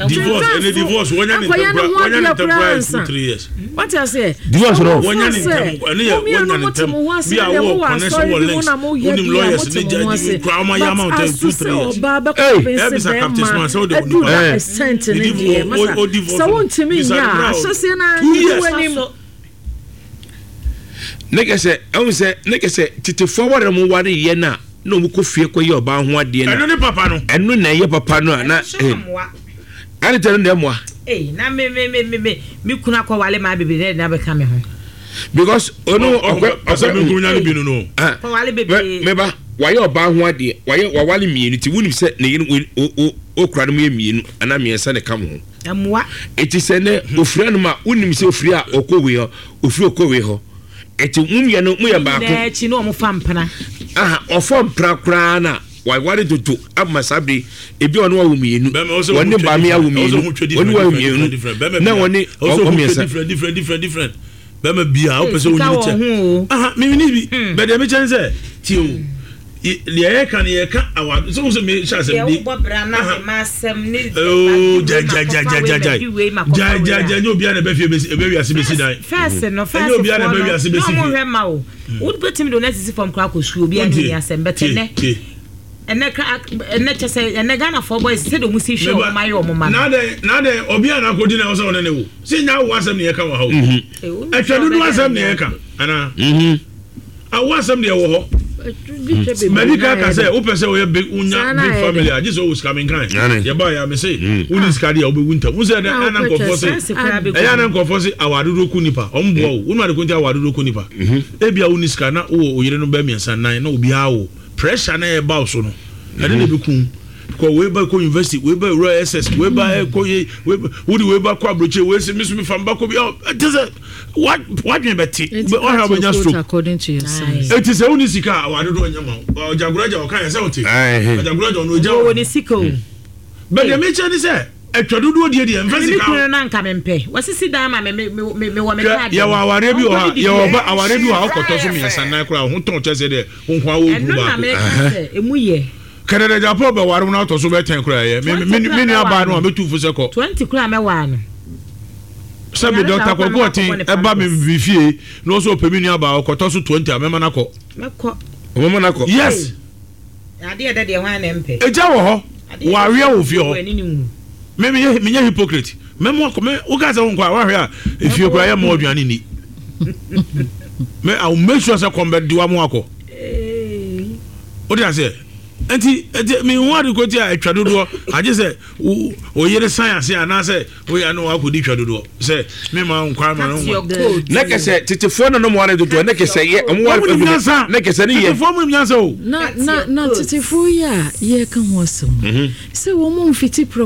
Divorce ɛne divorce wɔnya ne ntɛm kora wɔnya ne ntɛm kora yɛ 2 3 years. Wate aseɛ? Divorce no. Wɔnya ne ntɛm ɛne yɛ wɔnya ne ntɛm bi a wɔ connection wɔ links wonim lawyers ne judge kura ɔma yɛ ama ntɛm 2 3 years. Ɔbaa bɛkɔ fɛnse bɛrima ɛdu da extent ne deɛ masa sɛ wontumi nyɛ a ahyɛseɛ no ara ngu w'anim. Ne kɛ sɛ ɛhu sɛ ne kɛ sɛ tetefoɔ aware mo ware yɛ no a na wɔn kɔ fie kɔ yɛ ɔbaa ho adeɛ no. Ɛno ne papa no. Ɛno na ɛyɛ papa no a na. Ɛne tɛ no na ɛmoa. Ee na me me me me me kunu akɔ wale maa bebree na ɛde na bɛka me ho. Because ɔno ɔkɔ ɔsɛ mi nkuru nya ne bi no no. Kɔ wale bebree. Meba wayɛ ɔbaa ho adeɛ wayɛ wawale mmienu ti wunim sɛ ne yere o o kura no mu yɛ mmienu anaa mmiɛnsa na ɛka mo ho. Ɛmoa. Eti sɛ nɛ ofiri anum a wunim sɛ ofiri a ɔkɔ wei hɔ ofiri ɔkɔ wei hɔ eti mo mmienu mo yɛ baako. Nyinaa akyi na wɔn fa mpena. Aha ɔfa mpena koraa na waware dodo ama saa bere ebi ɔne wawo mmienu wɔne maame awo mmienu wɔne wawo mmienu na wɔne wɔn mmiɛnsa. Different different different different bɛrima bia wopɛ sɛ wonyini kyɛ aha mewini bi hmm. bɛdeɛ mekyɛ ne sɛ tie o deɛ yɛka no yɛka awa sɛ wo sɛ mehyɛ asɛm di gyagyagyagyagyagyagyagyagya nyɛ obia na ɛbɛfie ɛbɛwiase bɛsi dan ɛnyɛ obia na ɛbɛwiase bɛsi fie wobɛtumi de wo nasisi fam koraa kɔ sukuu obiara ne ni asɛm bɛtɛ nɛ ɛnɛ kra ɛnɛ kyɛ sɛ ɛnɛ Ghanafoɔ boys sɛdeɛ ɔmo si hwɛ ɔmo ayɛ ɔmo ma no. N'adɛn n'adɛn ɔbea na akɔdi na ɔsɛ ɔne ne wo sɛ nya awo asɛm na yɛka wɔ ha o mhm. ɛtwa dodo asɛm na yɛka anaa mhm. awo asɛm deɛ wɔ hɔ medical ka sɛ wopɛ sɛ woyɛ big wonya big family a gye sɛ wowɔ sika menkan yɛba yɛ me se mm. wone sika deɛ wobɛwu ntam wo sɛ ɛna nkɔfoɔ se ɛyɛ ana nkɔfoɔ se awadodoɔ ku nipa ɔmboa wo wonu ade ko nti awadodoɔ ku nipa mhm. ebia wone sika na wowɔ oyere no bɛ mmiɛnsa nan na obiara wo Pressure na ɛba wo so no, ɛno na ɛbɛku wo. Because wei ba kɔ university, wei ba wura SS, wei ba ɛkɔ yei, wei ba wode wei ba kɔ aburokyire, wei sɛ meso mefa mba kɔ bi, ɛte sɛ wadwene bɛte, ɔhwɛ a wobɛnya stroke. Eti sɛ wonni sika a, aware dodoɔ nyɛ ma wo. Ɔgyagoraagya ɔka yɛ sɛ wote. Ɔgyagoraagya ɔno ogya wɔ ne sika o. Bɛ deɛ mekyɛ ne sɛ atwa dodoɔ die deɛ mfa sika. Me kunu no anka mempɛ. Wasisi dan ma me me me wɔ me kaadi. Yɛwɔ awareɛ bi wɔ hɔ a yɛwɔ ba awareɛ bi wɔ hɔ a wokɔtɔ so mmiɛnsa nan koraa ho tɔn kyɛ sɛ deɛ wo nko ara wɔ kunu baako. Ɛno na meka sɛ emu yɛ. Kɛnɛdɛ Japan bɛware wo na atɔ so bɛyɛ tɛn koraa ɛyɛ. Me me nua baa no a mɛtu fo sɛ kɔ. 20 koraa mɛwaa no. Sɛ me Dɔkta Kwaku Ɔten ɛba me me fie na ɔsɛ ɔpɛ me nua baa ɔkɔtɔ so 20 a mɛma no akɔ. Mɛkɔ. Ɔbɛma no akɔ. Yes. Adeɛ ɛdɛ deɛ hwan na ɛmpɛ. Egya wɔ hɔ. Wɔaweɛ wɔ fie hɔ. Me menyɛ menyɛ hypocrite. Mɛmo akɔ me woka sɛ wonkɔ a woahwɛ a efie koraa yɛ mma aduane nni. Me I will make sure sɛ kɔm bɛde wa mo akɔ. Wote aseɛ? Nti nti mehu ade kɔti a atwa dodoɔ agye sɛ wo yere san ase anaasɛ woyɛ ano wakɔdi twa dodoɔ sɛ mema nkwa ma no nwa. Na kɛsɛ tetefoɔ na nom ware dodoɔ na kɛsɛ yɛ ɔmo ware ɔmo nyansa na kɛsɛ ne yɛ. Tetefoɔ mu nyansa o. Na na na tetefoɔ yi a yɛka ho asɛm sɛ wɔn mfiti prɛko.